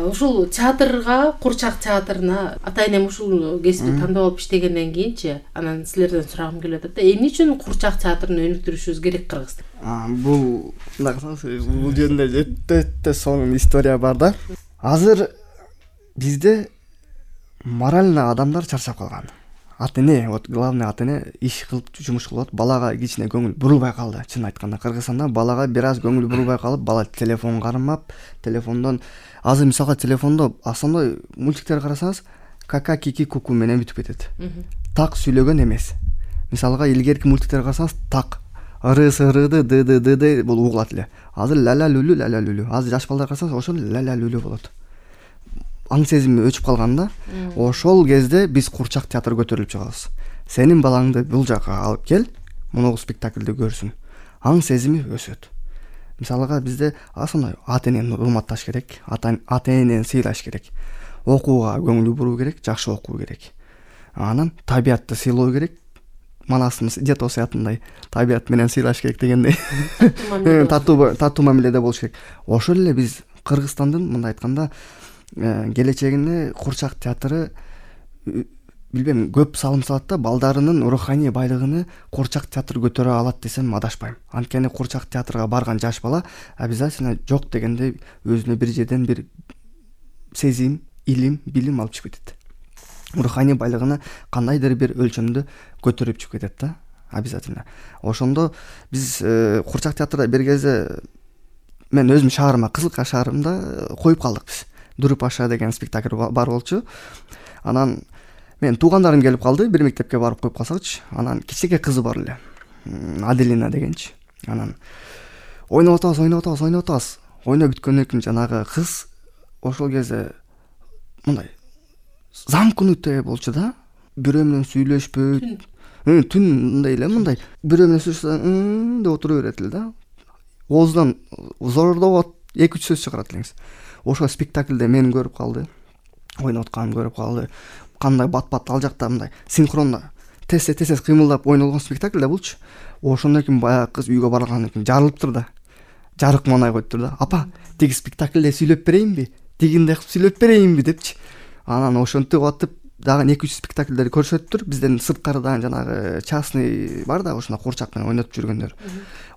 B: ушул театрга, Курчак театрына ата энем ушул кесипти тандап алып иштегенден кийинчи анан силерден сурагым келип атат да, эмне үчүн Курчак театрын өнүктүрүшүбүз керек Кыргызда?
A: Бул мындай кылсаңыз, бул жөнүндө өтө өтө сонун история бар да. Азыр бизде морально адамдар чарчап калган. Ата эне, вот главный ата эне иш кылып жумуш кылып, балага кичине көңүл бурулбай калды. Чын айтканда, Кыргызстанда балага бир аз көңүл бурулбай калып, бала телефон кармап, телефондон азыр мисалга телефондо основной мультиктер карасаңыз, кака кики куку менен бүтүп кетет. Так сүйлөгөн эмес. Мисалга илгерки мультиктер карасаңыз, так ыры сырыды ды ды ды ды бул угулат эле. Азыр ла ла лүлү ла ла лүлү. Азыр жаш балдар карасаңыз, ошол ла ла лүлү болот. Аң сезими өчүп калганда, ошол кезде биз Курчак театр көтөрүлүп чыгабыз. Сенин балаңды бул жака алып кел, мунугу спектакльди көрсүн. Аң сезими өсөт. Мисалга бизде асоной ата энени урматташ керек, ата энени сыйлаш керек. Окууга көңүл буруу керек, жакшы окуу керек. Анан табиятты сыйлоо керек. Манасыбыз Дед Осуятындай табият менен сыйлаш керек дегендей. Татуу татуу мамиледе болуш керек. Ошол эле биз Кыргызстандын мындай айтканда келечегине Курчак театры билбейм көп салым салат да, балдарынын руханий байлыгын Курчак театры көтөрө алат десем адашпайм. Анткени Курчак театрга барган жаш бала обязательно жок дегенде өзүнө бир жерден бир сезим, илим, билим алып чыгып кетет. Руханий байлыгын кандайдыр бир өлчөмдө көтөрүп чыгып кетет да, обязательно. Ошондо биз Курчак театрда бир кезде мен өзүм шаарыма, Кызылка шаарымда коюп калдык биз. Дуруп аша деген спектакль бар болчу. Анан мен туугандарым келип калды, бир мектепке барып коюп калсакчы. Анан кичине кызы бар эле, Аделина дегенчи. Анан ойноп атабыз, ойноп атабыз, ойноп атабыз. Ойноп бүткөндөн кийин жанагы кыз ошол кезде мындай замкнутый болчу да. Бирөө менен сүйлөшпөйт. Түн мындай эле, мындай бирөө менен сүйлөшсө деп отура берет эле да. Оозунан зордоп эки үч сөз чыгарат элеңиз. Ошол спектакльде мени көрүп калды, ойноп атканымды көрүп калды. Кандай бат-бат ал жакта мындай синхронно тез-тез кыймылдап ойнолгон спектакль да булчу. Ошондон кийин баягы кыз үйгө баргандан кийин жарылыптыр да. Жарык манай коюптур да. Апа, тиги спектакльде сүйлөп берейинби? Тигиндей кылып сүйлөп берейинби депчи. Анан ошентип атып дагы эки үч спектакльдер көрсөттүр. Бизден сырткарыдан жанагы частный бар да, ошондо Курчак менен ойнотуп жүргөндөр.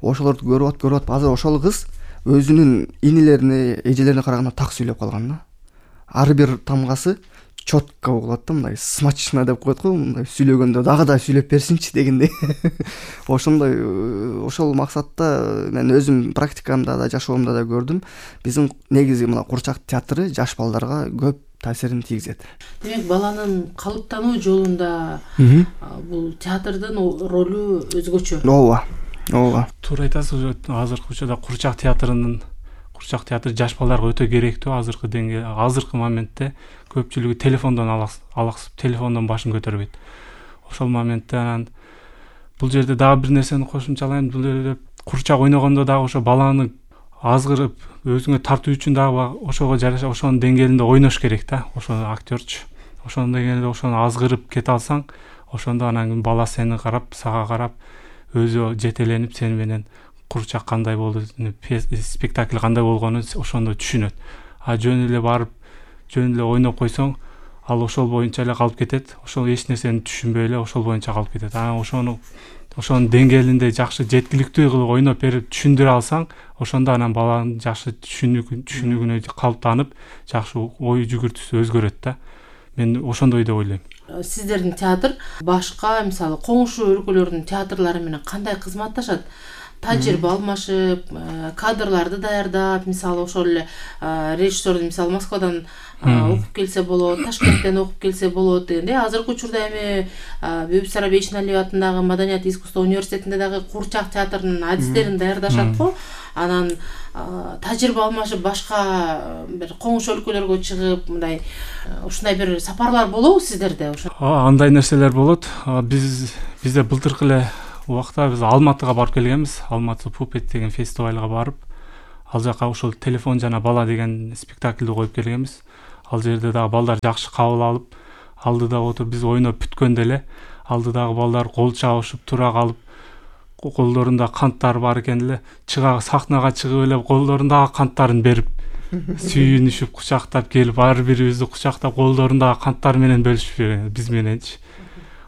A: Ошолорду көрүп атып, көрүп атып, азыр ошол кыз өзүнүн инилерине, эжелерине караганда так сүйлөп калган да. Ар бир тамгасы четко угулат да, мындай смачно деп коет го, мындай сүйлөгөндө дагы да сүйлөп берсинчи дегендей. Ошондой ошол максатта мен өзүм практикамда да, жашоомдо да көрдүм. Биздин негизи мына Курчак театры жаш балдарга көп таасирин тийгизет.
B: Демек, баланын калыптануу жолунда бул театрдын ролу өзгөчө.
A: Ооба. Ооба.
C: Туура айтасыз. Азыркы учурда Курчак театрынын Курчак театры жаш балдарга өтө керектүү. Азыркы деңгээл, азыркы моментте көпчүлүгү телефондон алаксып, телефондон башын көтөрбөйт. Ошол моментте анан бул жерде дагы бир нерсени кошумчалайм. Бул жерде Курчак ойногондо дагы ошо баланы азгырып, өзүңө тартуу үчүн дагы ошого жараша ошонун деңгээлинде ойнош керек да. Ошо актёрчу. Ошонун деңгээлинде ошону азгырып кете алсаң, ошондо анан бала сени карап, сага карап өзү жетеленип сени менен Курчак кандай болду, спектакль кандай болгонун ошондо түшүнөт. А жөн эле барып, жөн эле ойноп койсоң, ал ошол боюнча эле калып кетет. Ошол эч нерсени түшүнбөй эле ошол боюнча калып кетет. Анан ошону ошонун деңгээлинде жакшы жеткиликтүү кылып ойноп берип түшүндүрө алсаң, ошондо анан баланын жакшы түшүнүгүнө калыптанып, жакшы ой жүгүртүүсү өзгөрөт да. Мен ошондой деп ойлойм.
B: Сиздердин театр башка, мисалы, коңшу өлкөлөрдүн театрлары менен кандай кызматташат? Тажрыйба алмашып, кадрларды даярдап, мисалы, ошол эле режиссердун, мисалы, Москвадан окуп келсе болот, Ташкенттен окуп келсе болот дегенде, азыркы учурда эми Бебисара Бейшеналиева атындагы Маданият искусство университетинде дагы Курчак театрынын адистерин даярдашат го. анан тажрыйба алмашып башка бир коңуш өлкөлөргө чыгып мындай ушундай бир сапарлар болобу сиздерде?
C: Андай нерселер болот. Биз бизде былтыркы эле убакта биз Алматыга барып келгенбиз. Алматы Пупет деген фестивалга барып, ал жака ошол телефон жана бала деген спектакльди коюп келгенбиз. Ал жерде дагы балдар жакшы кабыл алып, алдыда отуруп биз ойноп бүткөндө эле алдыдагы балдар кол чабышып тура калып, колдорунда канттар бар экен эле, чыга сахнага чыгып эле колдорундагы канттарын берип сүйүнүшүп кучактап келип, ар бирибизди кучактап колдорундагы канттар менен бөлүшүп биз мененчи.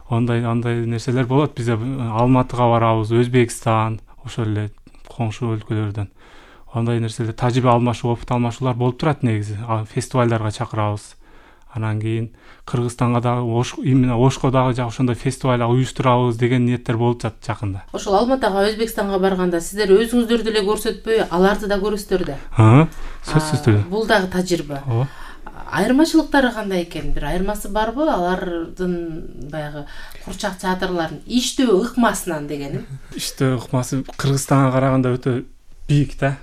C: Ондай андай нерселер болот. Бизде Алматыга барабыз, Өзбекстан, ошол эле коңшу өлкөлөрдөн. Андай нерселер тажрыйба алмашуу, опыт алмашуулар болуп турат негизи. Фестивалдарга чакырабыз. Анан кийин Кыргызстанга дагы, именно Ошко дагы ошондой фестиваль уюштурабыз деген ниеттер болуп жатат жакында.
B: Ошол Алматыга, Өзбекстанга барганда сиздер өзүңүздөр деле көрсөтпөй, аларды да көрөсүздөр да.
C: Ha, сөзсүз түрдө.
B: Бул дагы тажрыйба. Айырмачылыктары кандай экен? Бир айырмасы барбы? Алардын баягы курчак театрлардын иштөө ыкмасынан дегеним.
C: Иштөө ыкмасы Кыргызстанга караганда өтө бийик да.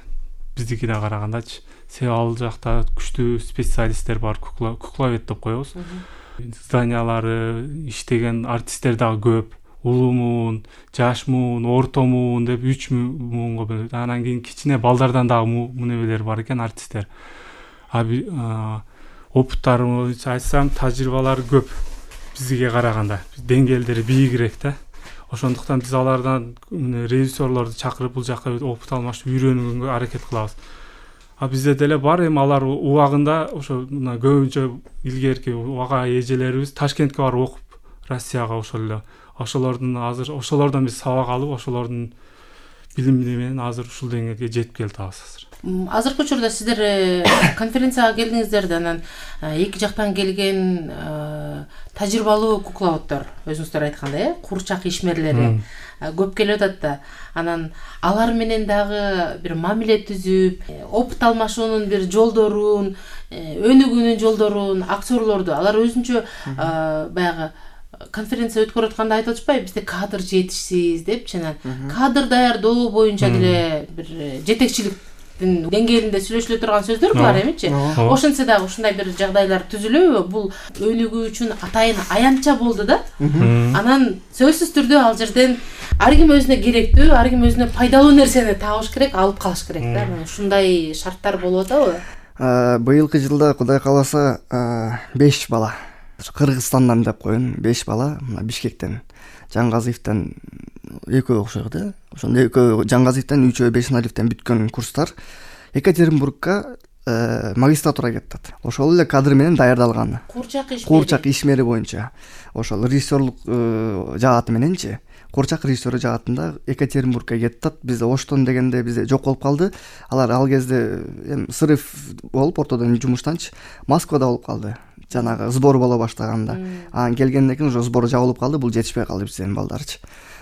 C: Биздикине карагандачы. Себеби ал жакта күчтүү специалисттер бар, кукла кукловед деп коебуз. Зданиялары, иштеген артисттер дагы көп. Улуу, жаш муун, орто муун деп үч муунга бөлөт. Анан кийин кичине балдардан дагы мунебелер бар экен артисттер. Аби опыттары айтсам, тажрыйбалары көп бизге караганда. Деңгээлдери бийигирээк да. Ошондуктан биз алардан режиссерлорду чакырып бул жакка опыт алмашып үйрөнүүгө аракет кылабыз. А бизде деле бар, эми алар убагында ошо мына көбүнчө илгерки ага эжелерибиз Ташкентке барып окуп, Россияга ошол эле. Ошолордун азыр ошолордон биз сабак алып, ошолордун билими менен азыр ушул деңгээлге жетип келатабыз азыр.
B: Азыркы учурда сиздер конференцияга келдиңиздер да, анан эки жактан келген тажрыйбалуу кукловоддор, өзүңүздөр айткандай, э, курчак ишмерлери көп келип атат да. Анан алар менен дагы бир мамиле түзүп, опыт алмашуунун бир жолдорун, өнүгүүнүн жолдорун, актерлорду алар өзүнчө баягы конференция өткөрүп атканда айтып атышпайбы, бизде кадр жетишсиз депчи, анан кадр даярдоо боюнча деле бир жетекчиликтин деңгээлинде сүйлөшүлө турган сөздөр булар эмичи? Ошентсе дагы ушундай бир жагдайлар түзүлөбү? Бул өнүгүү үчүн атайын аянтча болду да. Анан сөзсүз түрдө ал жерден ар ким өзүнө керектүү, ар ким өзүнө пайдалуу нерсени табыш керек, алып калыш керек да. Ушундай шарттар болуп атабы?
A: Быйылкы жылда Кудай кааласа беш бала, Кыргызстандан деп коеюн, беш бала, мына Бишкектен, Жаңгазиевден экөө окшойт да. Ошондо экөө Жаңгазиевден, үчөө Бешналивден бүткөн курстар Екатеринбургка магистратурага кетет. Ошол эле кадр менен даярдалган.
B: Курчак ишмери.
A: Курчак ишмери боюнча. Ошол режиссерлук жааты мененчи. Курчак режиссеры жаатында Екатеринбургка кетет. Бизде Оштон дегенде бизде жок болуп калды. Алар ал кезде эми срыв болуп ортодон жумуштанчы Москвада болуп калды. Жанагы сбор боло баштаганда. Анан келгенден кийин ошо сбор жабылып калды. Бул жетишпей калды биздин балдарчы.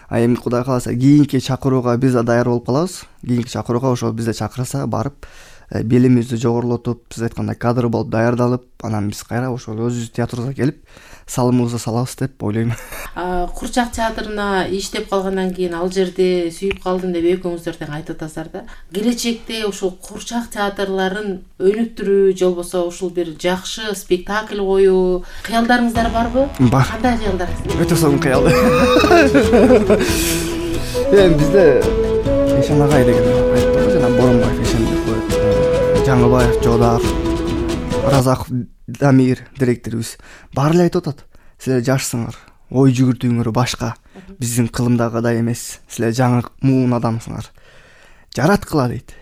A: А эми Кудай кааласа кийинки чакырууга биз да даяр болуп калабыз. Кийинки чакырууга ошо бизде чакырса барып, билимибизди жогорулотуп, биз айткандай кадр болуп даярдалып, анан биз кайра ошол өзүбүз театрыбызга келип салымыбызды салабыз деп ойлойм.
B: Курчак театрына иштеп калгандан кийин ал жерде сүйүп калдым деп экөөңүздөр тең айтып атасыздар да. Келечекте ушул курчак театрларын өнүктүрүү, же болбосо ушул бир жакшы спектакль коюу кыялдарыңыздар барбы?
A: Бар.
B: Кандай кыялдарыңыз?
A: Өтө сонун кыялды. Эми бизде Эшен агай деген айтты, жана Боронбаев Эшен деп коет. Жаңыбаев Жодак, Разаков Дамир директорубуз баары эле айтып атат. Силер жашсыңар, ой жүгүртүүңөр башка, биздин кылымдагыдай эмес. Силер жаңы муун адамсыңар. Жараткыла дейт.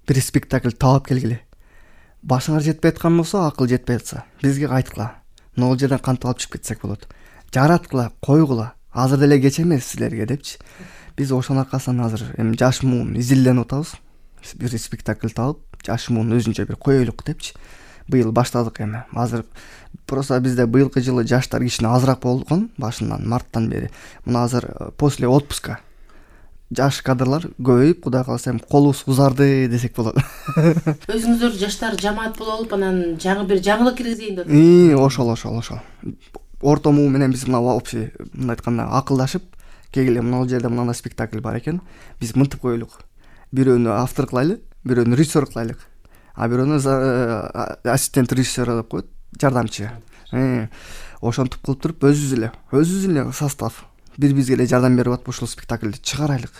A: Бир спектакль таап келгиле. Башыңар жетпей аткан болсо, акыл жетпей атса, бизге кайткыла. Могул жерден кантип алып чыгып кетсек болот. Жараткыла, койгула. Азыр деле кеч эмес силерге депчи. Биз ошонун аркасынан азыр эми жаш муун изилденип атабыз. Бир спектакль таап, жаш муун өзүнчө бир коелук депчи. Быйыл баштадык эми. Азыр просто бизде быйылкы жылы жаштар кичине азыраак болгон, башынан марттан бери. Мына азыр после отпуска жаш кадрлар көбөйүп, Кудай кааласа эми колубуз узарды десек болот.
B: Өзүңүздөр жаштар жамаат болуп алып, анан жаңы бир жаңылык киргизейин деп.
A: И, ошол, ошол, ошол. Орто муу менен биз мына вообще мындай айтканда акылдашып, келгиле мына жерде мындай спектакль бар экен. Биз мынтип коелук. бирөөнү автор кылайлы, бирөөнү режиссер кылайлык, а бирөөнү ассистент режиссер деп коет, жардамчы. Ошентип кылып туруп өзүбүз эле өзүбүз эле состав бири бизге эле жардам берип атып ушул спектакльди чыгарайлык.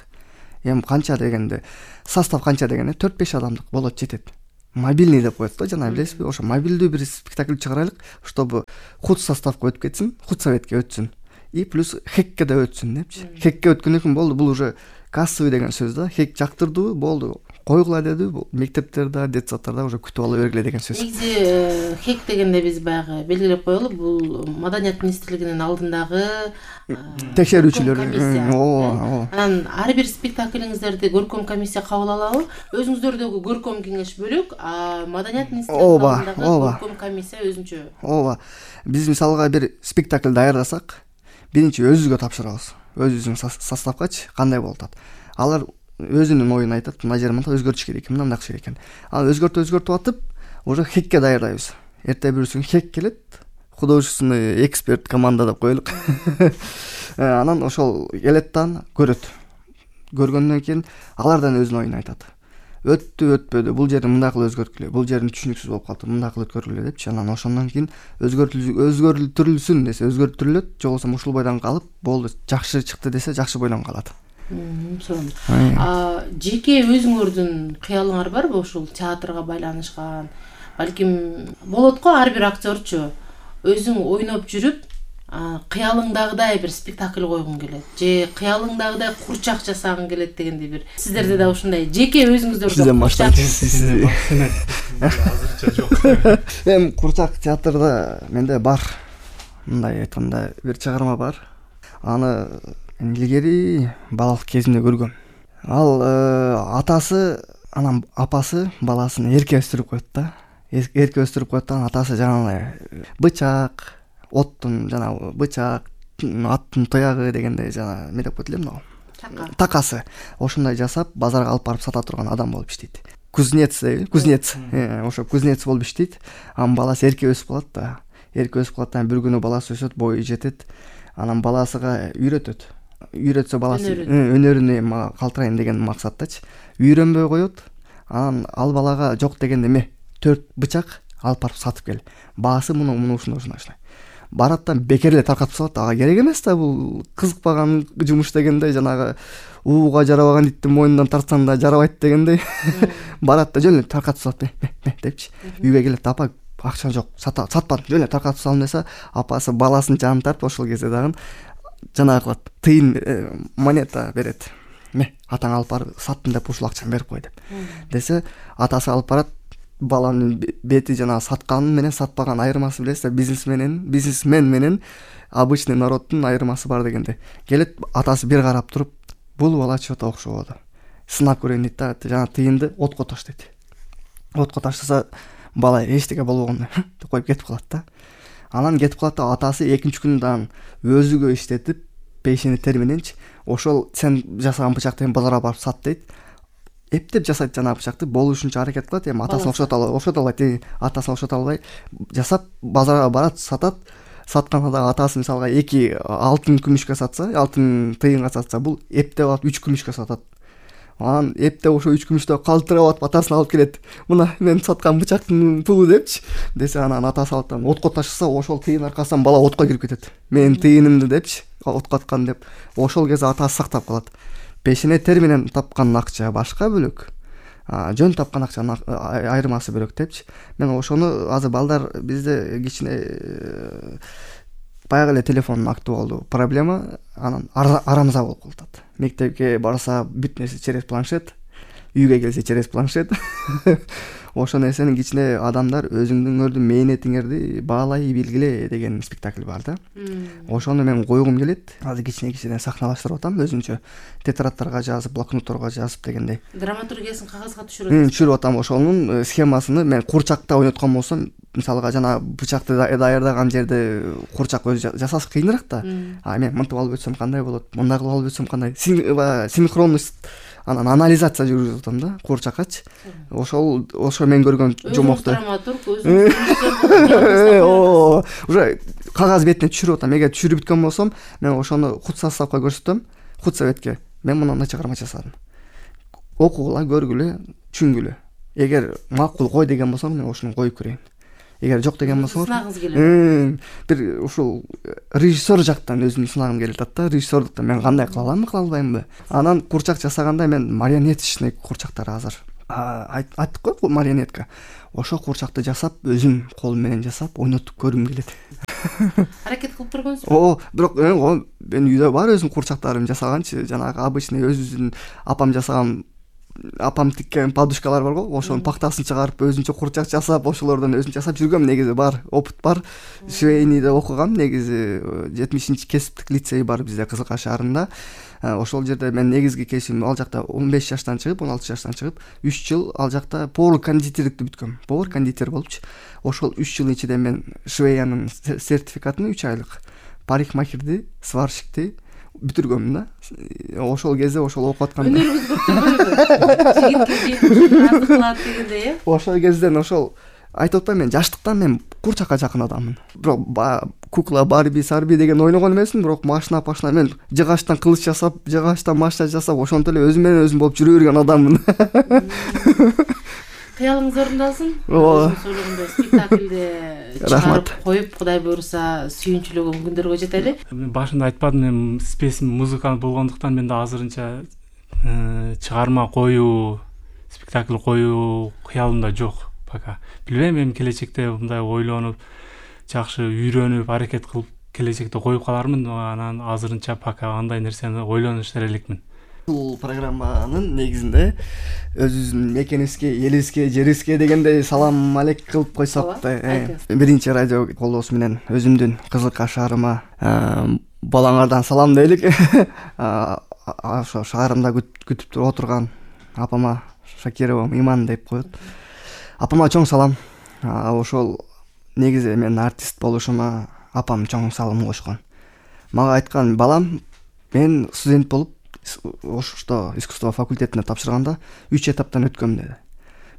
A: Эми канча дегенде состав канча дегенде төрт беш адамдык болот, жетет. Мобильный деп коет да, жана билесизби, ошо мобилдүү бир спектакль чыгарайлык, чтобы худ составка өтүп кетсин, худ советке өтсүн и плюс хекке да өтсүн депчи. Хекке өткөндөн кийин болду, бул уже кассовый деген сөз да, хек жактырдыбы болду, койгула деди, бул мектептерде, детсадтарда уже күтүп ала бергиле деген сөз.
B: Негизи хек дегенде биз баягы белгилеп коелу, бул Маданият министрлигинин алдындагы
A: текшерүүчүлөр.
B: Ооба. Анан ар бир спектаклиңиздерди көркөм комиссия кабыл алабы? Өзүңүздөрдөгү көркөм кеңеш бөлөк, а Маданият министрлигинин алдындагы көркөм комиссия өзүнчө.
A: Ооба. Биз мисалга бир спектакль даярдасак, биринчи өзүбүзгө тапшырабыз. Өзүбүздүн составгачы кандай болуп атат. Алар өзүнүн оюн айтат, мына жер мындай өзгөртүш керек, мындай керек экен. Ал өзгөртүп өзгөртүп атып, уже хекке даярдайбыз. Эртең бүрүсүн хек келет, художественный эксперт команда деп коелук. Анан ошол келет да көрөт. Көргөндөн кийин алардан өзүнүн оюн айтат. Өттү, өтпөдү, бул жерин мындай кылып өзгөрткүлө, бул жерин түшүнүксүз болуп калды, мындай кылып өткөргүлө депчи. Анан ошондон кийин өзгөртүлсүн десе өзгөртүлөт, же болбосо ушул бойдон калып, болду, жакшы чыкты десе жакшы бойдон калат.
B: Сонун. А жеке өзүңөрдүн кыялыңар барбы ушул театрга байланышкан? Балким болот го, ар бир актерчу өзүң ойноп жүрүп, кыялыңдагыдай бир спектакль койгуң келет, же кыялыңдагыдай курчак жасагың келет дегендей бир. Сиздерде да ушундай жеке өзүңүздөрдө
A: курчак
C: азырча жок.
A: Эми курчак театрда менде бар. Мындай айтканда бир чыгарма бар. Аны илгери балалык кезимде көргөм. Ал атасы, анан апасы баласын эрке өстүрүп коет да. Эрке өстүрүп коет да, атасы жанагы бычак, оттун жана бычак, аттын таягы дегенде жана эмне деп коет эле мына. Такасы. Ошондой жасап базарга алып барып сата турган адам болуп иштейт. Кузнец, кузнец. Ошо кузнец болуп иштейт. Анын баласы эрке өсүп калат да. Эрке өсүп калат да, бир күнү баласы өсөт, бою жетет. Анан баласыга үйрөтөт. Үйрөтсө баласы өнөрүнө калтырайын деген максаттачы. Үйрөнбөй коет. Анан ал балага жок дегенде эме төрт бычак алып барып сатып кел. Баасы муну муну ушундай ушундай. Барат да бекер эле таркатып салат. Ага керек эмес да, бул кызыкпаган жумуш дегенде, жанагы ууга жарабаган иттин мойнунан тартсаң да жарабайт дегендей. Барат да жөн эле таркатып салат депчи. Үйгө келет, апа акча жок, сатпадым, жөн эле таркатып салдым десе, апасы баласын жанын тартып ошол кезде дагы жанагы кылат, тыйын монета берет. Ме, атаң алып барып саттым деп ушул акчаны берип кой деп. Десе, атасы алып барат, баланын бети жана саткан менен сатпаган айырмасы билесиз, бизнесменен, бизнесмен менен обычный народтун айырмасы бар дегенде. Келет, атасы бир карап туруп, бул бала чото окшободу. Сынап көрөйүн дейт да, жана тыйынды отко таштайт. Отко таштаса, бала эчтеке болбогондой деп коюп кетип калат да. Анан кетип калат да, атасы экинчи күнү дагы өзүгө иштетип, пешени тер мененчи, ошол сен жасаган бычакты базарга барып сат дейт. Эптеп жасайт жанагы бычакты, болушунча аракет кылат, эми атасын окшото албай, окшото албайт, атасын окшото албай жасап базарга барат, сатат. Сатканда да атасы мисалга эки алтын күмүшкө сатса, алтын тыйынга сатса, бул эптеп алып үч күмүшкө сатат. Анан эптеп ошо үч күмүштө калтырап атып атасын алып келет. Мына мен саткан бычактын пулу депчи. Десе, анан атасы алып та отко ташыса, ошол тыйын аркасынан бала отко кирип кетет. Менин тыйынымды депчи, отко аткан деп. Ошол кезде атасы сактап калат. Пешене тер менен тапкан акча башка бөлөк. Жөн тапкан акчанын айырмасы бөлөк депчи. Мен ошону азыр балдар бизде кичине баягы эле телефондун актуалдуу проблема, анан арамза болуп калат. Мектепке барса бүт нерсе через планшет, үйгө келсе через планшет. Ошол нерсени кичине адамдар өзүңөрдүн мээнетиңерди баалай билгиле деген спектакль бар да. Ошону мен койгум келет. Азыр кичине-кичине сахналаштырып атам, өзүнчө тетрадтарга жазып, блокнотторго жазып дегендей.
B: Драматургиясын кагазга түшүрүп атам.
A: Түшүрүп атам. Ошонун схемасыны мен курчакта ойноткон болсом, мисалга жана бычакты даярдаган жерде курчак өзү жасасы кыйыныраак да. А мен мынтип алып өтсөм кандай болот, мындай кылып алып өтсөм кандай? Синхронность, анан анализация жүргүзүп атам да курчакачы. Ошол ошо мен көргөн жомокту.
B: Драматург өзү
A: уже кагаз бетине түшүрүп атам. Эгер түшүрүп бүткөн болсом, мен ошону худ составка көрсөтөм, худ советке. Мен мындай чыгарма жасадым. окугула, көргүлө, түшүнгүлө. Эгер макул кой деген болсоң, мен ошону коюп көрөйүн. Эгер жок деген болсоңор,
B: сынагыңыз келет.
A: бир ушул режиссер жактан өзүмдү сынагым келип атат да. Режиссерлуктан мен кандай кыла аламбы, кыла албаймынбы? Анан курчак жасаганда мен марионеточный курчактар азыр айттык го, марионетка. Ошо курчакты жасап, өзүм колум менен жасап, ойнотуп көргүм келет.
B: Аракет кылып көргөнсүзбү?
A: О, бирок мен үйдө бар өзүм курчактарым жасаганчы, жанагы обычный өзүбүздүн апам жасаган, апам тиккен подушкалар бар го, ошонун пактасын чыгарып өзүнчө курчак жасап, ошолордон өзүм жасап жүргөм. Негизи бар, опыт бар. Швейныйда окугам, негизи жетимишинчи кесиптик лицей бар бизде Кызыл Каш шаарында. Ошол жерде мен негизги кесибим ал жакта он беш жаштан чыгып, он алты жаштан чыгып, үч жыл ал жакта повар кондитерликти бүткөм. Повар кондитер болупчу. Ошол үч жыл ичинде мен швеянын сертификатын үч айлык, парикмахерди, сварщикти бүтүргөм да. Ошол кезде ошол окуп атканда
B: өнөрүңүз көп жигитке азык кылат дегендей, э?
A: Ошол кезден ошол айтып атпаймынбы, мен жаштыктан мен курчакка жакын адаммын. Бирок кукла, Барби, Сарби деген ойногон эмесмин, бирок машина пашина мен жыгачтан кылыч жасап, жыгачтан машина жасап, ошентип эле өзүм менен өзүм болуп жүрө берген адаммын.
B: Кыялыңыз орундалсын.
A: Ооба.
B: Сөйлөгөндө спектакльде чыгарып коюп, Кудай буйруса, сүйүнчүлөгөн күндөргө жетели.
C: Мен башында айтпадым, мен спесим музыкант болгондуктан менде азырынча чыгарма коюу, спектакль коюу кыялымда жок пока. Билбейм, эми келечекте мындай ойлонуп, жакшы үйрөнүп, аракет кылып келечекте коюп калармын, анан азырынча пока андай нерсени ойлонуштар элекмин.
A: Бул программанын негизинде өзүбүздүн мекенибизге, элибизге, жерибизге дегендей салам алейк кылып койсок да. Биринчи радио колдоосу менен өзүмдүн Кызыл Каш шаарыма балаңардан салам дейлик. Ошо шаарымда күтүп отурган апама Шакирова Иман деп коет. Апама чоң салам. Ошол негизи мен артист болушума апам чоң салым кошкон. Мага айткан, балам, мен студент болуп ошто искусство факультетине тапшырганда үч этаптан өткөм деди.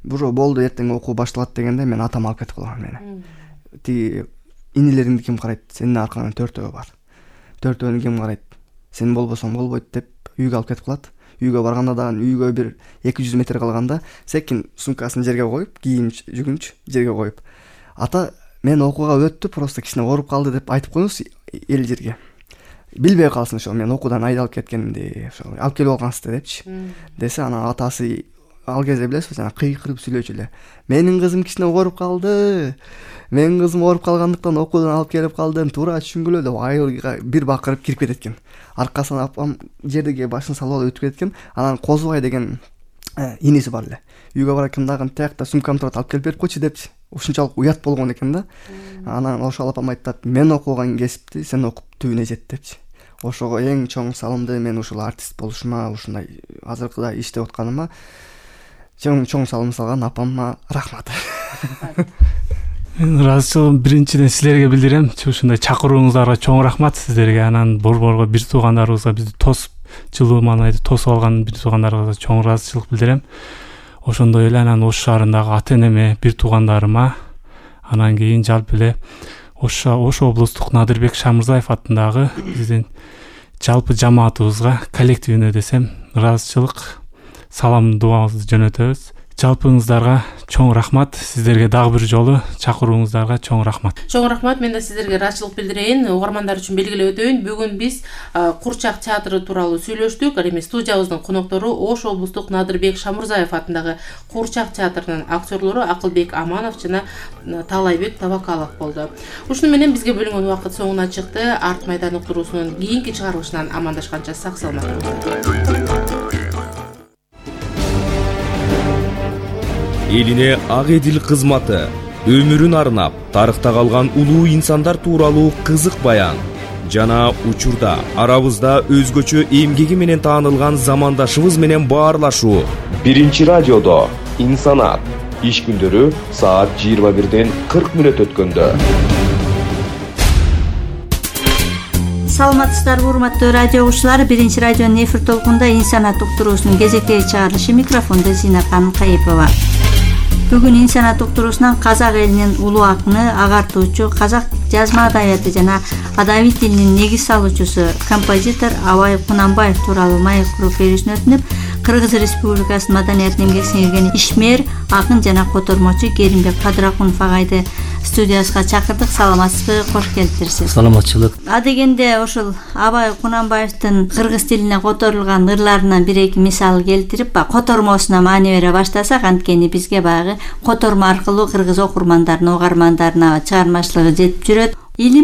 A: Бужо болду, эртең окуу башталат дегенде мен атам алып кетип калган мени. Тиги инилериңди ким карайт? Сенин аркаңан төртөө бар. Төртөөнү ким карайт? Сен болбосоң болбойт деп үйгө алып кетип калат. Үйгө барганда дагы үйгө бир эки жүз метр калганда секин сумкасын жерге коюп, кийим жүгүнч жерге коюп, ата мен окууга өттү, просто кичине ооруп калды деп айтып коюңуз эл жерге. Билбей калсын ошо мен окуудан айдалып кеткенимди, ошо алып келип алгансыздар депчи. Десе, анан атасы ал кезде билесизби, жана кыйкырып сүйлөчү эле. Менин кызым кичине ооруп калды. Менин кызым ооруп калгандыктан окуудан алып келип калдым, туура түшүнгүлө деп айылга бир бакырып кирип кетет экен. Аркасынан апам жерге башын салып алып өтүп кетет экен. Анан Козубай деген иниси бар эле. Үйгө баракындагы тиякта сумкам турат, алып келип берип койчу депчи. Ушунчалык уят болгон экен да. Анан ошол апам айтат, мен окуган кесипти сен окуп түбүнө жет депчи. Ошого эң чоң салымды мен ушул артист болушума, ушундай азыркыда иштеп атканыма чоң чоң салым салган апама рахмат.
C: Мен ыраазычылыгымды биринчиден силерге билдирем. Ушундай чакырууңуздарга чоң рахмат сиздерге. Анан борборго, бир туугандарыбызга, бизди тосуп, жылуу маанайда тосуп алган бир туугандарыбызга чоң ыраазычылык билдирем. Ошондой эле анан Ош шаарындагы ата-энеме, бир туугандарыма, анан кийин жалпы эле Ош Ош облустук Надырбек Шамырзаев атындагы биздин жалпы жамаатыбызга, коллективине десем, ыраазычылык, салам, дуабызды жөнөтөбүз. Жалпыңыздарга чоң рахмат. Сиздерге дагы бир жолу чакырууңуздарга чоң рахмат.
B: Чоң рахмат. Мен да сиздерге ыраазычылык билдирейин. Угармандар үчүн белгилеп өтөйүн. Бүгүн биз Курчак театры тууралуу сүйлөштүк. Ал эми студиябыздын коноктору Ош облустук Надырбек Шамырзаев атындагы Курчак театрынын актерлору Акылбек Аманов жана Таалайбек Табакалов болду. Ушуну менен бизге бөлүнгөн убакыт соңуна чыкты. Арт майдан уктуруусунун кийинки чыгарылышынан амандашканча сак саламат болуңуздар.
D: Элине ак эдил кызматы, өмүрүн арнап, тарыхта калган улуу инсандар тууралуу кызык баян жана учурда арабызда өзгөчө эмгеги менен таанылган замандашыбыз менен баарлашуу. Биринчи радиодо Инсанат. Иш күндөрү саат жыйырма бирден кырк мүнөт өткөндө.
E: Саламатсыздарбы, урматтуу радио угуучулар. Биринчи радионун эфир толкунда Инсанат уктуруусунун кезектеги чыгарылышы, микрофондо Зина ханым Кайыпова. Бүгүн Инсанат уктуруусунан казак элинин улуу акыны, агартуучу, казак жазма адабияты жана адаби тилинин негиз салуучусу, композитор Абай Кунанбаев тууралуу маек куруп берүүсүн өтүнүп, Кыргыз Республикасынын маданиятын эмгек сиңирген ишмер, акын жана котормочу Керимбек Кадыракунов агайды студиясына чакырдык. Саламатсызбы, кош келиптирсиз.
A: Саламатчылык.
E: А дегенде ушул Абай Кунанбаевдин кыргыз тилине которулган ырларынан бир эки мисал келтирип, котормосуна маани бере баштасак, анткени бизге баягы котормо аркылуу кыргыз окурмандарына, угармандарына чыгармачылыгы жетип жүрөт. Илим